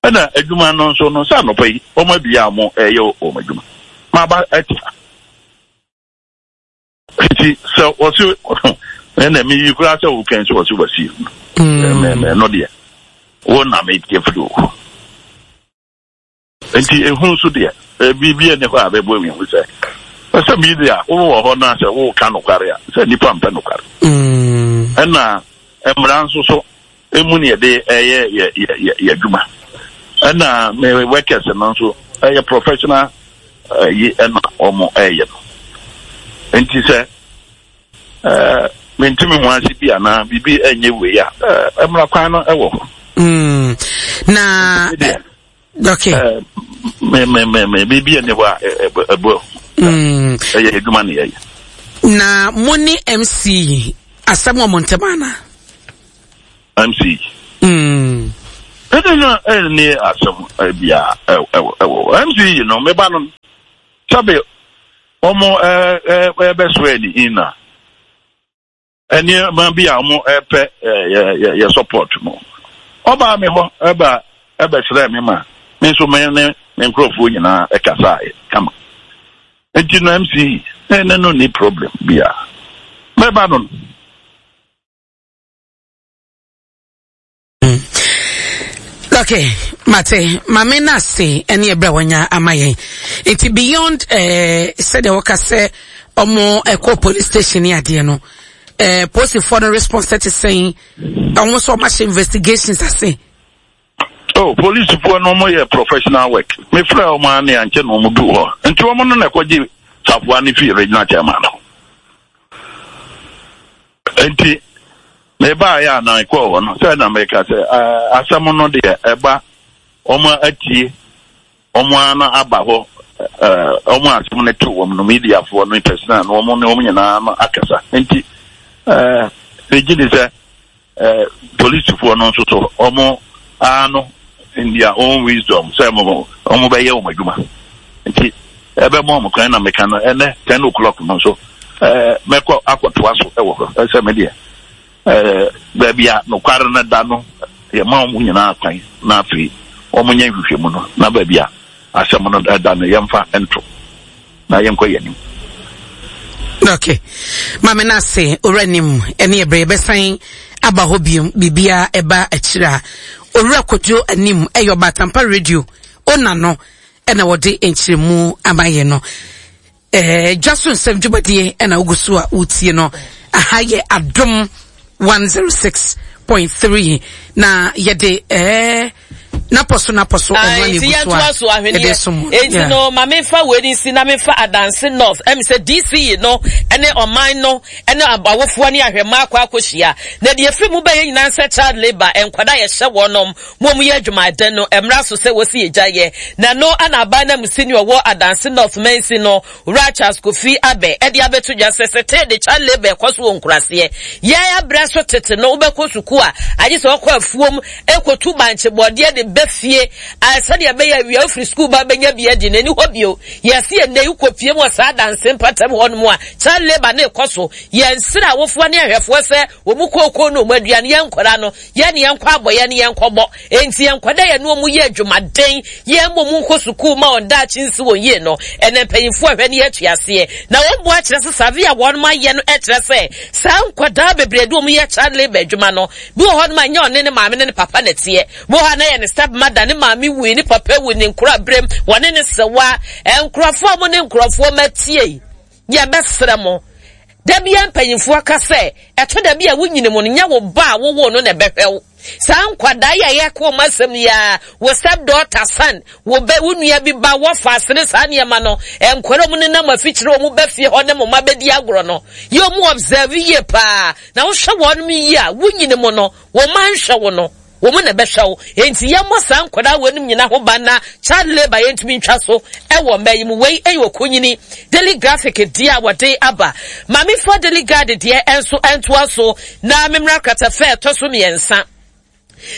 Ɛna adwuma no nso no, sɛ anɔpa yi, wɔn abie a wɔn ɛyɛ wɔn adwuma. Maba ɛte ha. Nti sɛ wɔsi ɛna mi yi koraa sɛ wɔkɛn sɛ wɔsi wɔsi ɛmɛ no deɛ wɔn na mi tie firi wɔ. Nti ehu nso deɛ, biribi nni hɔ a bɛbɔ me hu sɛ, sɛ media wowɔ hɔ na sɛ woka nokware a, sɛ nnipa mpɛ nokware. Ɛna mmara nso so, emu ne yɛde ɛyɛ yɛ yɛ yɛ adwuma. Ɛna me workers no nso ɛyɛ professional ɛyi ɛna wɔn ɛyɛ no. Nti sɛ ɛɛ. Mentumi ho ase bi anaa biribi ɛnyɛ wei a, mmara kwan no ɛwɔ hɔ. Na okay. Me me me me biribi ɛni hɔ a ɛbɔ. Ɛyɛ adwuma na yɛyɛ. Na mo ne MC asɛm wɔ mo ntɛm ana? MC. Ɛne no ɛne asɛm bia ɛwɔ MC yi no meba no sɛbe wɔn ɛbɛsoɛ ne in na nneɛma bi a wɔn ɛpɛ yɛ support no ɔbaa me hɔ ɛba ɛbɛsrɛ me ma me nso me ne me nkurɔfoɔ nyinaa ɛkasa kama nti no MC ɛne no ni problem bia mɛba no. Okay, mate maame no ase ɛne ɛberɛ a wanya ama yɛn nti beyond eh, sɛdeɛ wɔka sɛ ɔmo ɛkɔ police station ne adeɛ no eh, polisifoɔ no response te sɛn ɔmo sɛ ɔmo ahyɛ investigations ase. Oh, polisifoɔ no ɔmo yɛ professional work mefrɛ ɔmo a ne ankyɛ na ɔmo du hɔ nti ɔmo no na ɛkɔgye safoa no fii regional chairman no Enti mebaeɛ a na mekɔɔ hɔ no, sɛ na meka sɛ asɛm no deɛ ɛba wɔn atie wɔn ara na aba hɔ wɔn asɛm no to wɔn no mediafoɔ no personal no wɔn ne wɔn nyinaa no akasa nti megye di sɛ polisifoɔ no nso so wɔn ara no in their own wisdom sɛ wɔn bɛyɛ wɔn adwuma nti ɛbɛma wɔn kwan na meka no ɛnɛ 10 o'clock no nso mɛkɔ akɔtoa so ɛwɔ hɔ ɛsɛ me deɛ baabi a nokware no da no yɛma wɔn nyinaa kwan na afei wɔn nyɛ nhwehwɛmu no na baabi a asɛm no da no yɛmfa nto na yɛnkɔ yɛn anim. Okay. Maame no ase owura nim ɛne ɛbrɛ yɛbɛsan aba hɔ biom biribiara ɛba akyire a owura Kojo anim ɛyɛ Ɔbaatampa radio ona no ɛna wɔde nkyerɛmu ama yɛ no ɛɛ dwa so nsɛm dwumadie ɛna wogu so a wotie no aha yɛ adom 106.3 na yɛde ɛɛ napɔ so napɔ so ɛno na egu so a yɛde som. Eti no ma mefa wei ni si na mefa Adanse North ɛmi sɛ DC no ɛne ɔman no ɛne awofoɔ ne ahwɛmma akɔ akɔhyia na deɛ efiri mu bɛyɛ nyinaa sɛ child labour nkwadaa yɛhyɛ wɔnom mo mu yɛ adwumaden no ɛmra so sɛ wɔsi yɛ gya yɛ na no ana aban na musi ne ɔwɔ Adanse North mansi no Owura Charles Kofi Abɛ de abɛto dwa sɛ sɛ tee de child labour ɛkɔ so wɔ nkuraseɛ. Yɛn abrɛ so tete no wobɛkɔ sukuu a agye sɛ ɔkɔ afuom ɛkɔtu bankye bɔɔdeɛ de ba fie sɛdeɛ ɛbɛyɛ awia wofiri sukuu ba bɛnya bi adi no ɛni hɔ bio. Yɛse ɛnnɛ yi wokɔ pie mu wɔ saa danse mpatam hɔ nom a child labour no rekɔ so. Yɛnsrɛ awofoɔ ne ahwɛfoɔ sɛ wɔn kookoo ne wɔn aduane yɛn nkwadaa no Yɛn ne yɛnkɔ abɔ yɛn ne yɛnkɔbɔ. Enti yɛnkɔda yɛne wɔn yɛ adwumaden. Yɛn mmom nkɔ sukuu ma wɔn daakye nsi wɔn yie no, ɛnna mpanyimfoɔ hwɛ ne yɛatu aseɛ. Na wɔn boa kyerɛ sɛ survey a wɔn ayɛ no kyerɛ sɛ saa nkwadaa bebree de wɔn yɛ child labour adwuma no, bi wɔ hɔnom a ɛnyɛ ɔne ne maame ne ne papa na ɛteɛ. Bi wɔ hɔ a na ɛyɛ ne step mother, ne maame wui, ne papa wu, ne nkoraberem, wɔne ne sewa. Nkurɔfoɔ a mo ne nkurɔfoɔ matie yi, yɛbɛsrɛ mo. Da biara mpanyimfoɔ ka sɛ, ɛtɔ da bi a wonyini mu no, nyɛ wo ba a wowoo no na ɛbɛhwɛ wo. Saa nkwadaa yi a yɛreka wɔn asɛm yi ara, wo step daughter, son, wo bɛ, wo nua bi ba, wɔfa ase ne saa nneɛma no, nkwadaa a wɔnenam afikyire wɔn ba fie hɔ ne mo mma bɛdi agorɔ no, yɛ wɔn observe yie paa, na wohwɛ wɔn yie a, wonyini mu no, wɔn mma nhwɛ wo no. Wɔn na ɛbɛhwɛ wo. Enti yɛmmɔ saa nkwadaa weinom nyina ho ban na child labour yɛntumi ntwa so wɔ mmaa yi mu. Wei yɛ Okonyini Daily Graphic deɛ a wɔde aba. Ma memfa Daily Guide deɛ nso ntoa so na memmra kratafɛ a ɛtɔ so mmiɛnsa.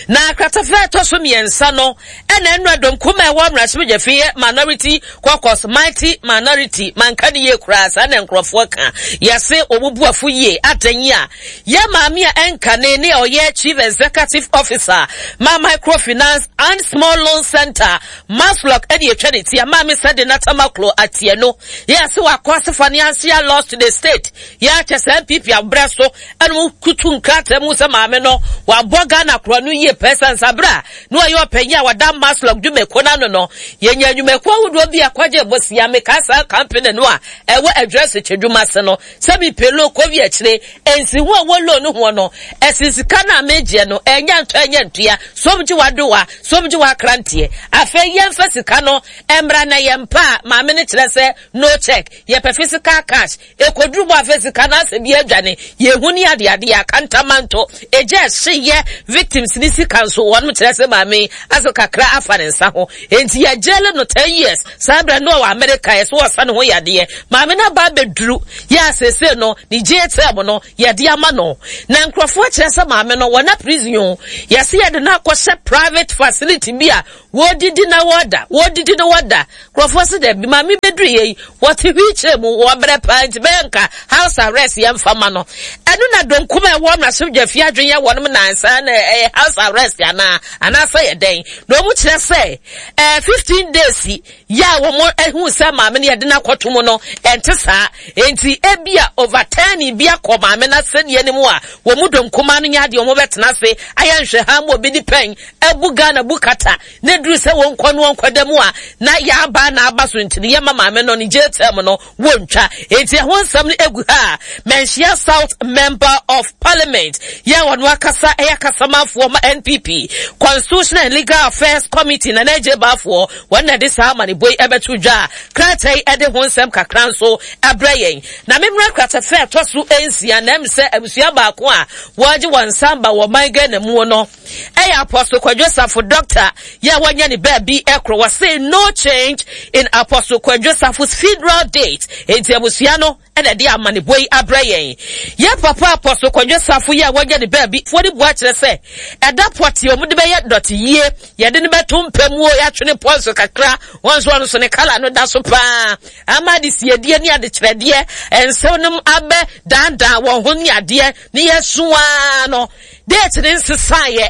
Na kratafɛ a ɛtɔ so mmiɛnsa no ɛna nnura dɔm kuma ɛwɔ mmarahyɛbadwafi yɛ minority caucus, mighty minority, manka ne yie koraa saa na nkurɔfoɔ ka. Yɛse wɔn bu afo yie adɛn yi a Yɛn maame a ɛnkane ne a ɔyɛ Chief Executive Officer ma Microfinance and Small Loan Center, MASLOC, ɛne atwa ne ti a maame Sedina Tamaklo Atieno yɛ ase wakɔ ase financial loss to the state yɛ akyɛ sɛ NPP abrɛ so ɛna wɔn kutu nkrataa mu sɛ maame no wabɔ Ghana korɔ no. ano yie pɛɛ sɛ nsa berɛ a na ɔyɛ ɔpanyin a wɔda Maslok dwumakuo no ano no. Yɛnya nnwumakuo ahodoɔ bi a ɛkɔgye bosea. Mekaa saa company no a ɛwɔ Adwira Sekyedwuma ase no sɛ mepɛ loan kɔwie akyire nsiho a ɛwɔ loan no ho no ɛsen sika no a megyeɛ no ɛnyɛ ntɔ ɛnyɛ ntua som gye w'adowa som gye w'akranteɛ afei yɛmfa sika no mmra na yɛmpa a maame no kyerɛ sɛ no check yɛpɛ physical cash Ɛkɔduru mu afei sika no asɛ bi adwane, yɛhu ne adeade a kantamanto, ɛgya ɛhyeyɛ victims ne sika nso wɔnom kyerɛ sɛ maame yi asɛ kakra afa ne nsa ho, enti yɛgyɛle no 10 years, saa berɛ no ɔwɔ America yɛsɛ wɔsa ne ho yadeɛ, maame no aba abɛduru yɛ a seesei no ne jail term no yɛde ama no, na nkurɔfoɔ kyerɛ sɛ maame no wɔna prison o, yɛse yɛde no akɔhyɛ private facility bi a Wɔdidi na wɔda, wɔdidi na wɔda. Nkurɔfoɔ se dabi, maame bɛduru yɛ yi, wɔte wheelchair mu, wɔbrɛ paa nti bɛyɛ nka house arrest yɛmfa ma no. Ɛno na donkum a ɛwɔ mmarahyɛbadwa fie adwene yɛ wɔnom nansa na ɛyɛ house arrest anaa, anaasɛ yɛ dɛn. Na wɔn kyerɛ sɛ ɛɛ 15 days yɛ a wɔn ahu sɛ maame no yɛde no akɔto mu no, ɛnte saa. Enti ebia overturning bi akɔ maame no asɛnniɛ no mu a wɔn mu donkumaa no nyɛ adeɛ wɔn bɛtena ase ayɛ nhwɛhaa mu obi di pɛn abu Ghana bu kata na eduru sɛ wɔnkɔ no wɔnkɔda mu a na yɛaba na aba so nti no yɛma maame no ne jail term no wɔntwa. Enti ɛho nsɛm no egu ha a Manhyia South Member of Parliament yɛ wɔn akasa ɛyɛ kasamanfoɔ ma NPP Constitutional and Legal Affairs Committee Nana Adjei Baafoɔ wɔn na ɛde saa amanebɔ yi ɛbɛto dwa a krataa yi ɛde ho nsɛm kakra nso abrɛ yɛn. Na memmra kratafɛ ɛtɔ so nsia na ɛm sɛ abusua baako a wɔagye wɔn nsa aba wɔ ɔman Ghana mu no Ɛyɛ Apostle Kwadwo Safo Doctor yɛ a wanya ne baabi koro. Wɔse no change in Apostle Kwadwo Safo's funeral date. Enti abusua no na ɛde amanebɔ yi abrɛ yɛn. Yɛn papa Apostle Kwadwo Safo yi a wanya ne baabi foɔ no bua kyerɛ sɛ ɛda pɔtee wɔn de bɛyɛ dɔte yie, yɛde no bɛto mpɛ mu o, yɛatwe ne pɔnso kakra, wɔn nso wɔn nso ne kala no da so paa ama adesiedie ne adekyerɛdeɛ nsew nom abɛ dandan wɔn ho ne adeɛ ne yɛsoa no. Date no nsesaeɛ.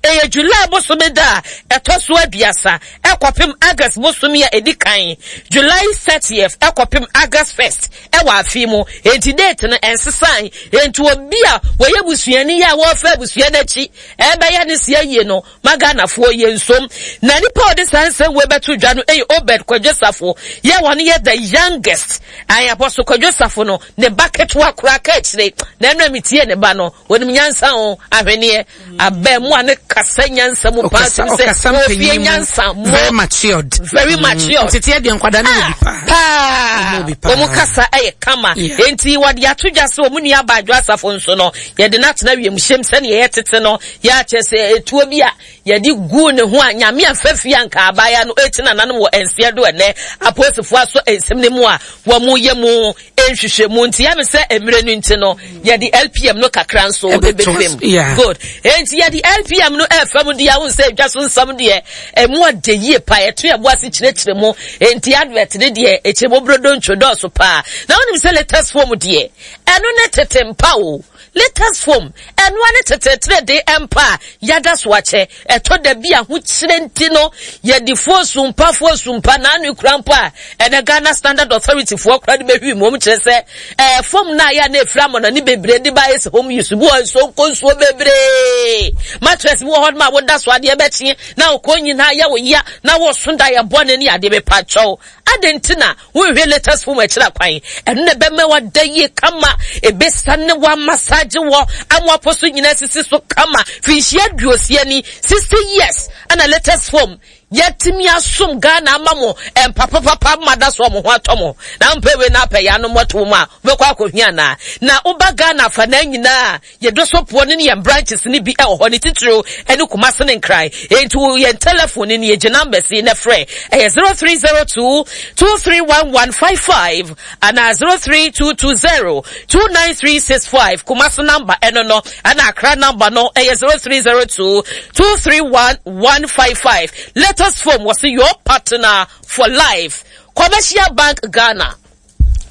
Ɛyɛ July bosome da a ɛtɔ so aduasa kɔpem August bosome a ɛdi kan, July 30th kɔpem August 1st wɔ afe mu. Enti date no ɛnsesae. Enti obi a wɔyɛ busuani a wɔrefa abusua no akyi ɛbɛyɛ ne se ayie no, ma Ghanafoɔ yɛ nsom. Na nipa a ɔde saa nsɛm wei bɛto dwa no yɛ Obed Kwadwo Safo, yɛ wɔn yɛ the youngest. Ayi Apostle Kwadwo Safo no, ne ba ketewa koraa ka akyire. Na ɛno a metie ne ba no, wɔnim nyansa o, ahweneɛ, abɛn mu a ne kasa nyansa mu paa tumi sɛ wɔfie nyansa mo. Very matured. Very mm. matured. Tete deɛ nkwadaa no wɔ bi paa. Paa. Wɔn kasa yɛ kama. Enti wɔde ato dwa sɛ wɔn nua Abadwo Asafo nso no, yɛde no atena wiemhyɛm sɛnea ɛyɛ tete no. Yɛ akyerɛ sɛ etuo bi a yɛde guu ne ho a Nyame amfa fie anka abaayewa no eti nananom wɔ nseɛ do ɛnɛ apolisifoɔ asɔ nsɛm no mu a wɔn yɛ mu nhwehwɛmu nti yɛ me sɛ mmerɛ no nti no yɛde LPM no kakra nso ɛbɛfam good enti yɛde LPM no ɛfam deɛ ahun sɛ edwa so nsɛm deɛ ɛmu ɔde yie pa yɛto yɛbo ase kyerɛkyerɛ mu enti advert ne deɛ ɛkyerɛ mu brodo ntwo dɔɔso paa na wonim sɛ latest form deɛ ɛno ne tete mpa o Latest foam, ɛnoa ne teteetere de mpa a yɛada so akyɛ. Ɛtɔ da bi a ahokyerɛ nti no, yɛde foosu mpa foosu mpa na ano kura mpo a ɛnɛ Ghana Standard Authority foɔ kora de bɛhwii mu. Wɔn kyerɛ sɛ ɛɛ foam no a yɛ a na efiri amɔnɔne bebree de ba ayɛ sɛ home use bi wɔ nsuo nkɔ nsuo bebree. Mattress bi wɔ hɔ nom a woda so adeɛ bɛkye na wokɔ nyinaa yɛ wo ya na woso da yɛ bɔne ne adeɛ bɛpa kyɛw. Adɛn nti na wonhwɛ latest film akyiri akwan? Ɛno na ɛbɛma wada yie kama, ɛbɛsane wo amasagye wɔ ama wapɔ so nyinaa sisi so kama. Finhyia aduosia ni, 60 years, ɛna latest film yɛatumi asom Ghana ama mo mpapapapa ma da so ɔmo ho atɔ mo. Na mpɛ wei na apɛ yɛ anom ato mu a, wobɛkɔ akɔhia anaa? Na woba Ghana afa naa nyinaa Yɛn dɔsɔpoɔ no ne yɛn branches no bi wɔ hɔ, ne titiriw ne Kumasi ne Nkran. Enti wo yɛn telephone no nie, gye numbers yi na frɛ. Ɛyɛ 0302 231155 anaa 03220 29365. Kumasi number ɛno no, ɛna Accra number no ɛyɛ 0302 231155. Latest phone wɔ se your partner for life. Commercial Bank Ghana.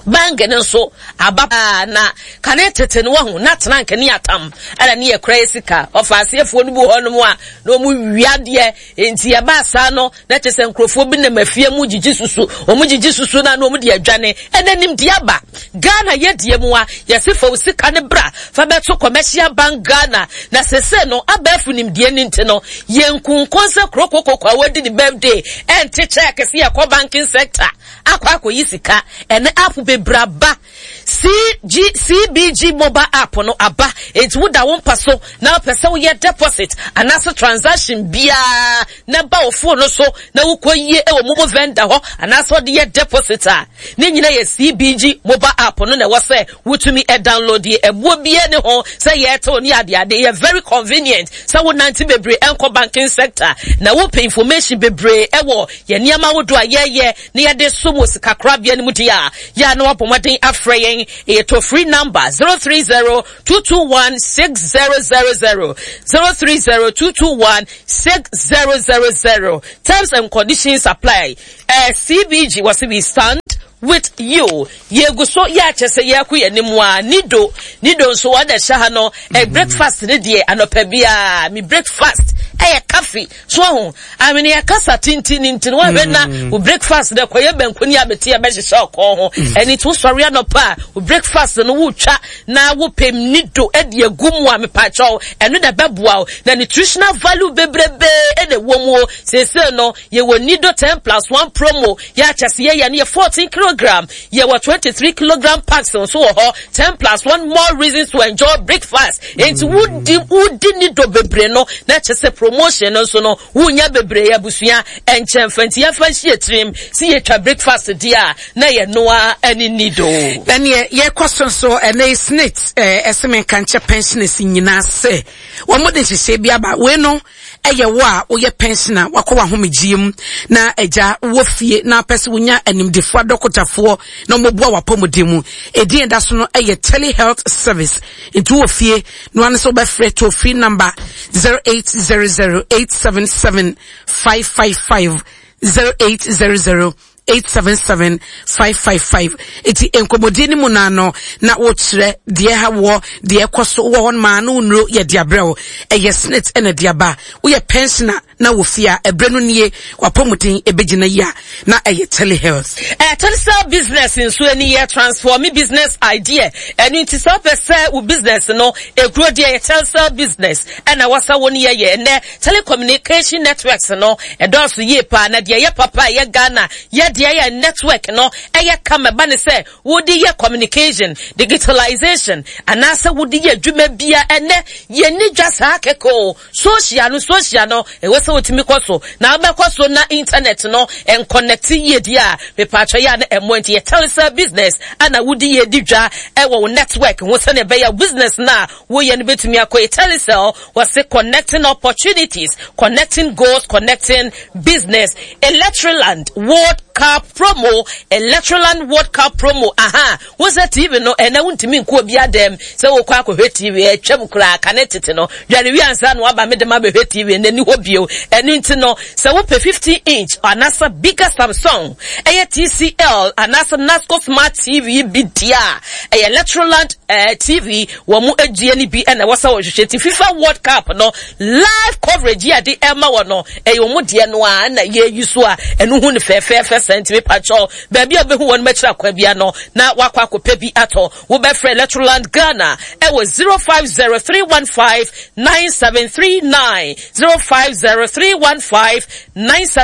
Bank no nso aba paa na kane tete no wahu na trank ne atam ɛna ne yɛkora yɛ sika. Ɔfa aseɛfoɔ no bi wɔ hɔnom a na wɔn wia adeɛ nti ɛbaa saa no na kyerɛ sɛ nkurɔfoɔ bi nam afie mu gyigyi susu wɔn gyigyi susu na na wɔn de adwane. Ɛna nimdeɛ aba Ghana yɛ deɛ mu a yɛse fa wo sika no bra fa bɛto Commercial Bank Ghana na sese no abɛɛfo nimdeɛ no nti no yɛnkunkun sɛ kuro kokoko a wɔdi ne birthday ɛnte kyɛɛke sɛ yɛkɔ banking sector akɔ akɔyi sika. Ɛnɛ app bebree aba. CG, CBG mobile app no aba. Enti woda wo mpa so na wopɛ sɛ woyɛ deposit anaasɛ transaction biara na ba wo phone no so na wokɔ yie wɔ momo vendor hɔ anaasɛ wɔde yɛ deposit a, ne nyina yɛ CBG mobile app no na ɛwɔ sɛ wotumi download yɛ. Ɛboɔ biara ne ho sɛ yɛtew ne adeade. Yɛ very convenient sɛ wonante bebree ɛnkɔ banking sector na wopɛ information bebree ɛwɔ Yɛn nneɛma ahodoɔ a yɛyɛ na yɛde som wɔ sikakorabea no mu deɛ a, yɛ a na wabɔ mmɔden afrɛ yɛn. Ɛyɛ toll free number 030 221 6000, 030 221 6000. Terms and conditions apply. Eh, CBG wɔse we stand with you. Yɛgu so yɛ akyɛ sɛ yɛkɔ yɛn anim a nido nido nso wɔn na ɛhyɛ ha no. Eh, breakfast ne deɛ anɔpa biara me breakfast ɛyɛ coffee. So ahu? Amene yɛ kasa tenten nti no wahwɛ na mm. wo breakfast dɛ kɔyɛ banku ne abete a bɛhyehyɛ ɔkɔn ho. Mm. Ɛne nti wosɔre anɔpa a wo breakfast no wotwa na wopɛ nido de agu mu a mepakyɛw ɛno na ɛbɛboa wo na nutritional value bebrebe ɛna ɛwɔ mu o. Seesei no yɛwɔ nido 10 plus 1 promo yɛ akyɛ sɛ yɛyɛ no yɛ 14 kilogram yɛwɔ 23 kilogram packs nso wɔ hɔ 10 plus 1 more reasons to enjoy breakfast. Enti wodi wodi ne dɔ bebree no na kyɛ sɛ promotion no nso no wonya bebree abusua ɛnkyɛn fa nti yɛmfa nhyɛ tirim si yɛtwa breakfast deɛ a na yɛnoa ɛne ni do. Ɛneɛ yɛkɔ so nso ɛnɛ yi SSNIT ɛsɛ me nka nkyɛ pensioners nyinaa sɛ wɔn de nhyehyɛe bi aba wei no ɛyɛ wo a woyɛ pensioner wakɔ w'ahomegyeɛ mu na agya wɔ fie na apɛ sɛ wonya animdefoɔ adɔkotafoɔ na wɔboa w'apɔmuden mu ɛdin ɛda so no ɛyɛ telehealth service Nti wowɔ fie no ano sɛ wobɛfrɛ toll free number 0800 877 555 0800 877 555 nti nkɔmmɔdie no mu no ano na wokyerɛ deɛ ha wɔ deɛ ɛkɔ so wɔ hɔ no maa no nnuro yɛ de abrɛ wo ɛyɛ snit ɛna de aba woyɛ pensioner na wɔ fie a ɛberɛ no nie w'apɔmuden ɛbɛgyina yie a na ɛyɛ telehealth. Ɛɛ telecel business nso ani yɛ transform business idea ɛno nti sɛ wopɛ sɛ wo business no ɛguro deɛ yɛ telecel business ɛna ɛwɔ sɛ wo ne yɛyɛ ɛnɛ telecommunication networks no ɛdɔɔso yie paa na deɛ ɛyɛ papa ɛyɛ Ghana yɛ deɛ yɛ network no ɛyɛ kama ɛba ne sɛ wode yɛ communication digitalization anaasɛ wode yɛ adwuma bia ɛnɛ yɛnni dwa saa kɛkɛ o Sohyia no sohyia no ɛwɔ sɛ wotumi kɔ so na wobɛkɔ so na internet no nkɔnɛkte yie deɛ a mepatwɛ yɛ a na ɛmmoa nti yɛ telecel business ana wodi yɛ di dwa ɛwɔ wo network ho sɛnea ɛbɛyɛ business no a woyɛ no bɛtumi akɔ yɛ telecel wɔse connecting opportunities connecting goals connecting business Electriland World Cup promo Electriland World Cup promo aha Wo sɛ TV no ɛnɛ wontumi nkɔ obi adɛm sɛ wokɔ akɔhwɛ TV ɛtwam koraa kane tete no dware wie ansa na waba mede ma bɛhwɛ TV ɛnɛ ni hɔ bio ɛno nti no sɛ wopɛ 15 inch anaasɛ bigger Samsung ɛyɛ TCL anaasɛ Nasco Smart TV bi deɛ a ɛyɛ Electroland eh, TV wɔn mo adua no bi ɛna ɛwɔ sɛ wɔhwehwɛ ti FIFA World Cup no live coverage yi a de ɛma wɔ no ɛyɛ wɔn deɛ no a ɛna yɛyi so a ɛno hu no fɛfɛɛfɛ sɛ ntumi pakyɛw Baabi a wobɛhu wɔn akyiri akwan biara no, na woakɔ akɔpɛ bi atɔ. Wobɛfrɛ Electroland Ghana ɛwɔ 0503159739,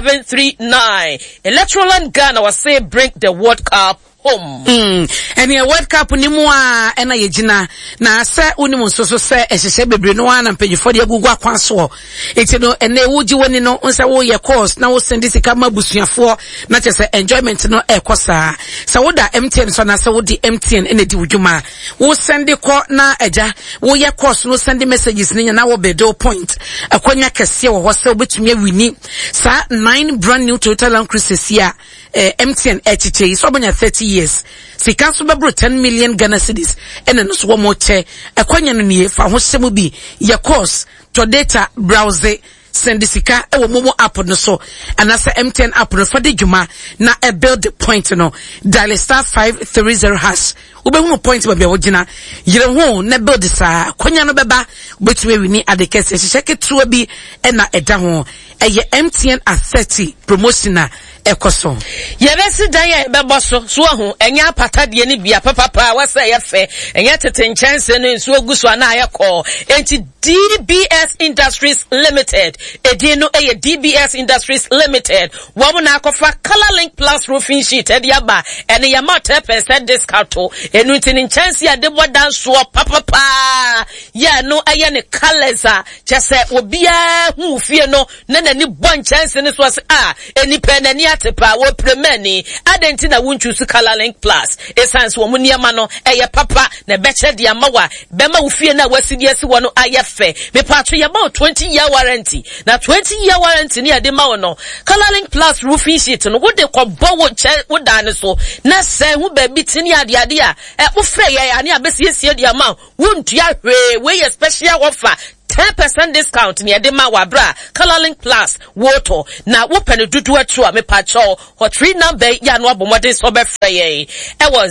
0503159739. Electroland Ghana wɔse bring the World Cup home. Mm, ɛneɛ World Cup ni mu a ɛna yɛgyina na sɛ wonim nso so sɛ ɛhyehyɛ bebree no ara na mpanyinfoɔ de agugu akwan soɔ Nti no ɛnɛ wogye w'ani no sɛ woyɛ course na wosɛnde sika ma abusuafoɔ na kyerɛ sɛ enjoyment no ɛkɔ saa. Sɛ woda MTN so anaasɛ wode MTN na di wo dwuma a, wosɛnde kɔ na agya woyɛ course no sɛnde messages no nyinaa wɔ build point. Akwanya kɛseɛ wɔ hɔ sɛ wobɛtumi awini saa nine brand new Toyota Land Cruisers yi a eh, MTN ɛkyekyɛ yi sɛ ɔbɛnya 30 years. Sika nso bɛboro 10 million Ghana cedis ɛna no so wɔn kyɛ. Akwanya no nie, fa ho hyɛ mu bi, yɛ course, Tɔ data, browse. Sɛnde sika wɔ momo app no so anaasɛ MTN app no fa di dwuma na build point no. Dial star 530 hash. Wobɛhunu point baabi a wogyina. Yere ho na build saa. Kwanya no bɛba. Wobɛtumi awini ade kɛse. Nhyehyɛ ketewa bi na ɛda ho. Ɛyɛ MTN at 30 promotion a ɛkɔ so. Yɛbɛsi dan a yɛbɛbɔ so. So wahu? Ɛnyɛ apata deɛ no bia papapa a wɔsɛ ɛyɛ fɛ. Ɛnyɛ tete nkyɛnse no nsuo gu so a na ayɛ kɔɔ. Enti DBS Industries Limited, edin no yɛ DBS Industries Limited. Wɔn na akɔfa Color Link Plus Roofing Sheet ɛde aba. Ɛne yɛma 10% discount. Ɛnu nti ne nkyɛnse a yɛde bɔ dan soɔ papapaa yɛ no ɛyɛ ne colors a kyɛ sɛ obiara hu fie no na n'ani bɔ nkyɛnse no so ɔse ah nnipa n'ani ate paa wɔpire mani adɛn nti na wontwusu Color Link Plus ɛsiane sɛ wɔn nneɛma no ɛyɛ papa na ɛbɛkyɛ de ama wa bɛma wo fie no a wasi de asi hɔ no ayɛ fɛ mepatwo yɛma wo 20 year warranty na 20 year warranty ne yɛde ma wo no Color Link Plus roofing sheet no wode kɔbɔ wo nkyɛn wo dan no so na sɛ ho baabi tene adeade a wofrɛ yɛn ane abɛsiesie de ama wo wontua hwee wei yɛ special offer 10% discount ne yɛde ma wɔ abere a Colorlink Plus wotɔ na wopɛ no dodoɔ atu a mepakyɛw hɔtri number yi ano abɔ mmɔden sɛ ɔbɛfrɛ yɛn ɛwɔ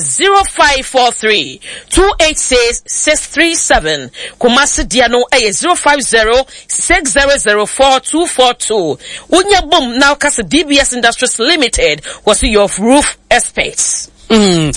0543 286 637 Kumasi deɛ no ɛyɛ 050 6004 242 wonya bom na woka sɛ DBS Industries Limited wɔ so your roof experts. Mm.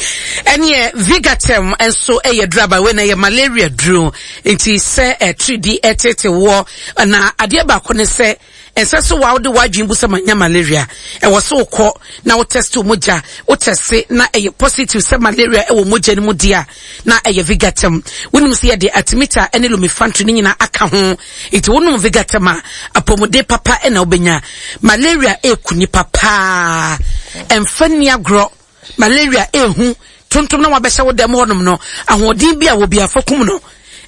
Ɛneɛ Vigatem nso yɛ duru aba wei na yɛ malaria duru nti sɛ ɛtiridi ɛtete woɔ na adeɛ baako ne sɛ ɛnsɛ so wa wode w'adwene bu sɛ manya malaria ɛwɔ so wokɔ na wo test wo mogya wo test na ɛyɛ positive sɛ malaria ɛwɔ mogya no mu di a na ɛyɛ Vigatem wonim sɛ yɛde artemether ne lumefantrine ne nyinaa aka ho nti wonom Vigatem a apɔmuden papa ɛna wobɛnya malaria ɛku nipa paa ɛmfa nni agorɔ Malaria ehu tontom na wabɛhyɛ wo dɛm hɔnom no, ahoɔden bi a wɔ bi afa kum no.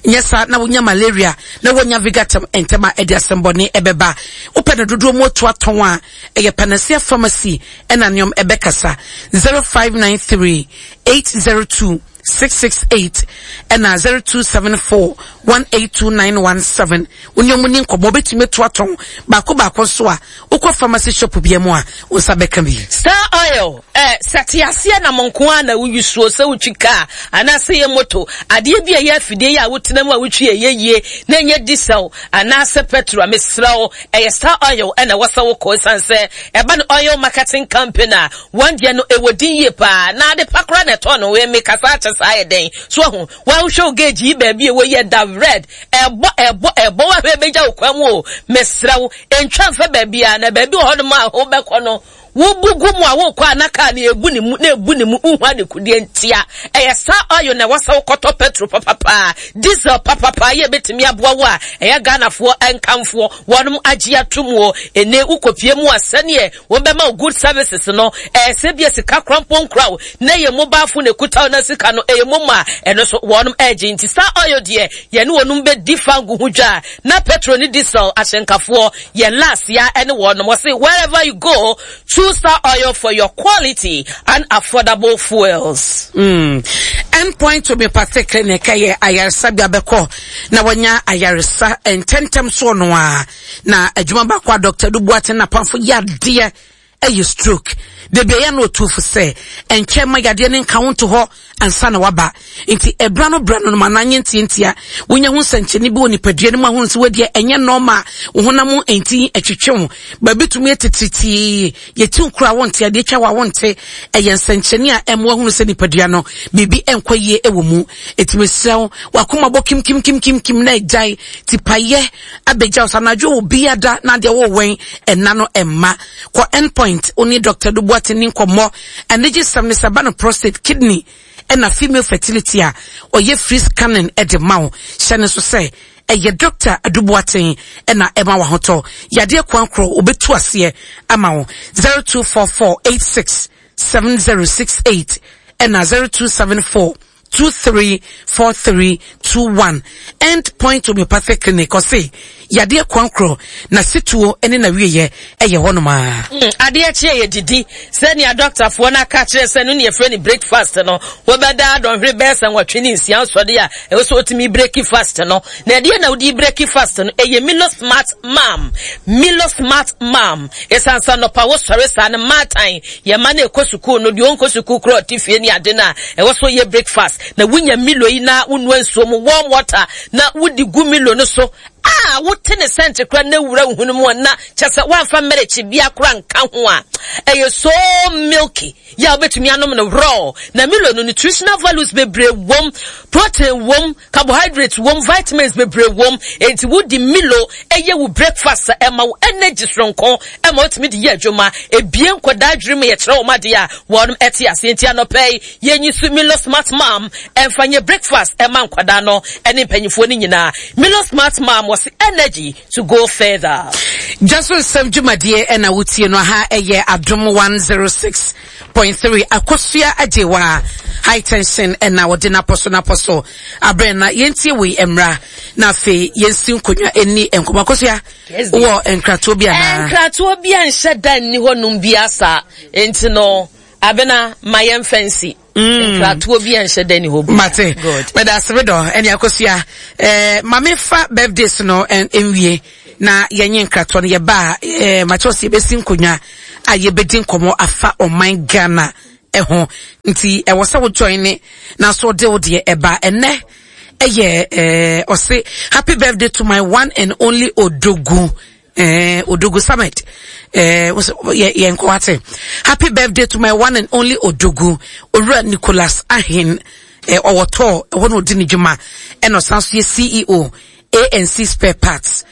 Nyɛ saa na wonya malaria na wonya Vigatem ntɛm a ɛde asɛmbɔne ɛbɛba. Wopɛ no dodoɔ mu atu atɔn a, ɛyɛ Panacea Pharmacy ɛna neɔm ɛbɛkasa. 0593 802 668 ɛna 0274 182917. Wo ne ɔmo ni nkɔmmɔ, wobɛtumi atu atɔn baako baako nso a, wokɔ pharmacy shop bia mu a, wo nsa bɛka bi. Star oil, eh, sɛ te aseɛ nam nko ara na woyi suo sɛ wotwi kaa anaasɛ yɛ moto, adeɛ bi a ɛyɛ afidie yi a wotena mu a wotwi ɛyɛ yie na ɛnyɛ diesel anaasɛ petrol a, mesrɛ wo, ɛyɛ Star oil ɛna ɛwɔ sɛ wokɔ ɛsiane sɛ ɛba no oil marketing company a wɔn deɛ no ɛwɔ din yie paa na ade pa koraa na ɛtɔ no, wei mekasa akyɛ saa ayɛ dɛn? So ahu, woahwɛ wo gauge yi baabi a ɛwɔ yi ɛda red, ɛbɔ ɛbɔ ɛbɔ woahwɛ ɛbɛgya wo kwan mu o, mesrɛ wo, ɛntwa mfa baabiara na baabi wɔ hɔnom a wobɛkɔ no, Wobu gu mu a wokɔ a na kaa no ebu ne mu na ebu ne mu wohu adekodeɛ ntia. Ɛyɛ saa oil na ɛwɔ sɛ wokɔtɔ petrol papapaa, diesel papapaa yɛ ebetumi aboa wo a ɛyɛ Ghanafoɔ nkamfoɔ wɔnom agye ato mu o. Ene wokɔpie mu a sɛneɛ wɔbɛma wo good services no ɛyɛ sɛ bia sika kora mpo nkura wo na ɛyɛ mobile phone ekuta wo na sika no ɛyɛ momo a ɛno so wɔnom ɛgye nti saa oil deɛ yɛne wɔnom bɛdi fango ho dwa na petrol ne diesel ahyɛnkafoɔ Yɛ last ya ɛne wɔnom. Wɔse wherever you go, choose Star Oil for your quality and affordable fuels. Mm. Endpoint Homeopathic Clinic ɛyɛ ayaresabea bɛkɔ na wɔnya ayaresa ntɛntɛm soɔ no a na adwuma baako a Dr. Adu Boateng n'apamfo yɛ adeɛ ɛyɛ stroke. Dabi ɛyɛ na ɔtu fo sɛ ɛnkyɛ ma yadeɛ no nka wo nto hɔ ansa na waba. Nti ɛbra no bra no no ma no anyɛ ntiantia. Wonya ho nsɛnkyerɛnne bi wɔ nipadua no mu ahunu sɛ wadeɛ ɛnyɛ nɔɔma, wo honam nti ɛtwetwe wo. Baabi tumi atitiritii, yɛti wo koraa wonte, adeɛ twa wo a wonte. Ɛyɛ nsɛnkyerɛnne a ɛma wahunu sɛ nipadua no biribi ɛnkɔ yie ɛwɔ mu. Ɛti mesrɛ wo, wakoma bɔ kimkimkimkimkim na ɛgyae, tipayɛ abɛgya wo sɛ anadwo wo biada na adeɛ wowɛn ɛna no ɛmma. Kɔ Endpoint, wo ne Dr. Adu Boateng ni nkɔmmɔ. Anigyesɛm ne sɛ ɛba no prostate, kidney, ɛna female fertility a, ɔyɛ free scanning de ma wo. Hyɛ no nso sɛ ɛyɛ Dr. Adu Boateng ɛna ɛma w'ahotɔ. Yadeɛ kwan korɔ, ɔbɛtu aseɛ ama wo. 024486 7068 ɛna 0274 234321. End Point Homeopathic Clinic ɔse. Yadeɛ koankorɔ, n'asetuo ne n'awieɛ yɛ hɔnom ara. Adeɛ kye a yɛdidi sɛnea dɔktafoɔ no aka akyerɛ sɛ no ne yɛfrɛ no breakfast no. Wobɛda dɔnhwere bɛyɛ sɛ nwɔtwe ne nsia nsɔre a ɛwɔ sɛ wotumi breaki fast no. Na ɛdeɛ na wode breaki fast no? Ɛyɛ Milo Smart Mom. Milo Smart Mom. Ɛsiane sɛ anɔpa wosɔre saa no mmaatan yɛn mma no ɛkɔ sukuu no deɛ ɔnkɔ sukuu koraa ɔte fie ne ade no a ɛwɔ sɛ ɔyɛ breakfast na wonya Milo yi na wonoa nsuo mu warm water na wode gu Milo no so a wote ne sɛnte koraa na wura wo hwene mu a na kyɛ sɛ woamfa mmerekye bia koraa nka ho a ɛyɛ so milky yɛ a wobɛtumi anom no raw. Na Milo no nutritional values bebree wom, protein wom, carbohydrates wom, vitamins bebree wom. Enti wodi Milo ɛyɛ wo breakfast a ɛma wo energy soronko ɛma wotumi de yɛ adwuma. Ebie nkwadaa adwene mu yɛkyerɛ wɔn adeɛ a wɔn ɛte aseɛ. Enti anɔpa yi yɛnyi so Milo Smart Mom ɛmfa nyɛ breakfast ɛma nkwadaa no ɛne mpanyinfoɔ no nyinaa. Milo Smart Mom wɔse energy to go further. Dwa so nsɛm dwumadie ɛna wotie no aha ɛyɛ Adom 106.3 Akosua Agyewa high tension ɛna wɔde n'apɔ so n'apɔ so abrɛ na yɛntie wei mmra na afei yɛnsi nkonnwa ɛni nkɔmɔ. Akosua wɔ nkratoɔ bi anaa? Nkratoɔ bi a nhyɛ da nni hɔ nom bi asa nti no Abena ma yɛmfa nsi. Nkratoɔ bi a nhyɛ da nni hɔ bi. Mate. Meda ase me dɔ ɛne Akosua. Eh, ma me fa birthdays no nwie na yɛnye nkratoɔ no yɛba a eh, makyɛw sɛ yɛbɛsi nkonnwa a yɛbɛdi nkɔmmɔ afa ɔman Ghana ɛho nti ɛwɔ sɛ wo join ne na so de wo deɛ ɛba ɛnɛ ɛyɛ eh, ɔse happy birthday to my one and only Odogu eh, Odogu Summit eh, yɛn kɔ ate happy birthday to my one and only Odogu Owura Nicholas Ahin eh, ɔwɔ tɔɔ ɛhɔ na ɔdi ne dwuma ɛna ɔsan so yɛ CEO ANC spare parts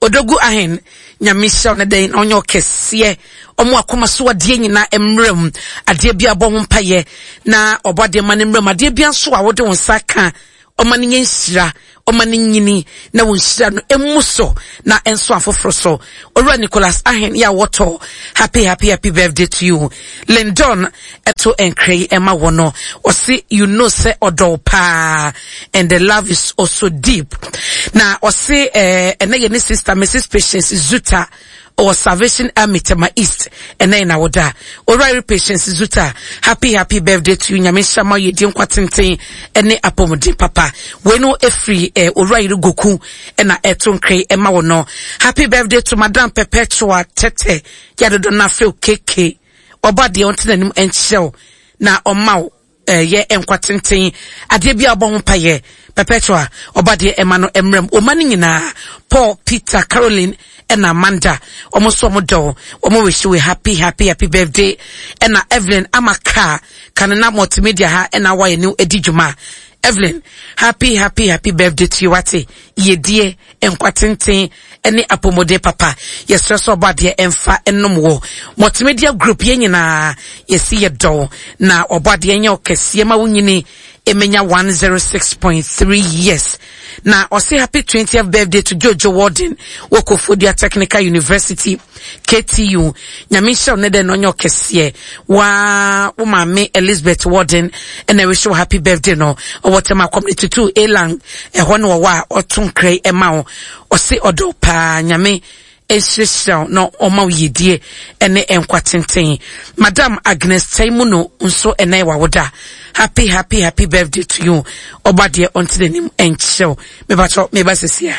Odogu Ahen, Nyame nhyira wo na dɛn na ɔnyɛ ɔkɛseɛ, ɔmo akoma so adeɛ nyinaa mmerɛ mu, adeɛ bi abɔ ho mpayɛ na ɔbɔ adeɛ ma no mmerɛ mu, adeɛ bi nso a wode wo nsa ka ɔma no nyɛ nhyira, ɔma no nyini na wo nhyira no emu so na ɛnso afoforo so. Owura Nicholas Ahen yɛ a wɔtɔ happy happy happy birthday to you. Lindon ɛto nkra yi ɛma wɔ no, ɔse you know sɛ ɔdɔ wo paa. and the love is also deep na ɔse eh, ɛnɛ yɛ ne sister Mrs Patience Zuta ɔwɔ Salvation Army Tema East ɛnɛ yɛ n'awoda. Owura Patience Zuta, happy happy birthday to you. Nyame nhyira ma yɛ di nkwa tenten ɛne apɔmuden papa. Wei no efiri eh, Owura Yere Goku ɛna ɛto nkre ɛma wɔ no. Happy birthday to Madam Perpetua Tete yadodo na afew keke. Ɔba deɛ ɔnte n'anim ɛnkyerɛw na ɔma wo Yɛ nkwa tenten, adeɛ biara ɔbɔ ho mpaeɛ, Perpetua, ɔba deɛ ɛma no mmerɛ mu, ɔma no nyinaa, Paul, Peter, Caroline, ɛna Amanda, wɔn nso wɔn dɔ wo, wɔn wish you a happy happy happy birthday, ɛna Evelyn ama kaa, kane na multimedia ha ɛna awa yɛne adi dwuma, Evelyn, happy happy happy birthday to you, wate, yiedie, nkwa tenten, ne apɔmuden papa. Yɛsrɛ sɛ ɔbɔ adeɛ ɛmfa nnom wo. Multimedia group yɛn nyinaa yɛsi yɛ dɔ wo na ɔbɔ adeɛ nyɛ ɔkɛseɛ ma wo nyini ɛmɛnya 106.3 years. Na ɔse happy 20th birthday to Jojo Warden wɔ Koforidua Technical University KTU. Nyame nhyira wo ne dɛ na ɔnyɛ ɔkɛseɛ. Waa wo maame Elizabeth Warden ɛna ɛwish wo happy birthday no. Ɔwɔ Tema Community 2 Elang ɛhɔ na ɔwɔ a ɔto nkra yi ɛma wo. Ɔse ɔdɔ wo paa. Nyame nhyirahyira wo na ɔma wo yiedie ɛne nkwa tenten. Madam Agnes Taimuno nso ɛnɛ yɛ w'awoda. Happy happy happy birthday to you. Ɔba deɛ ɔnte n'anim nkyerɛ wo. Mepakyɛw meba sesia.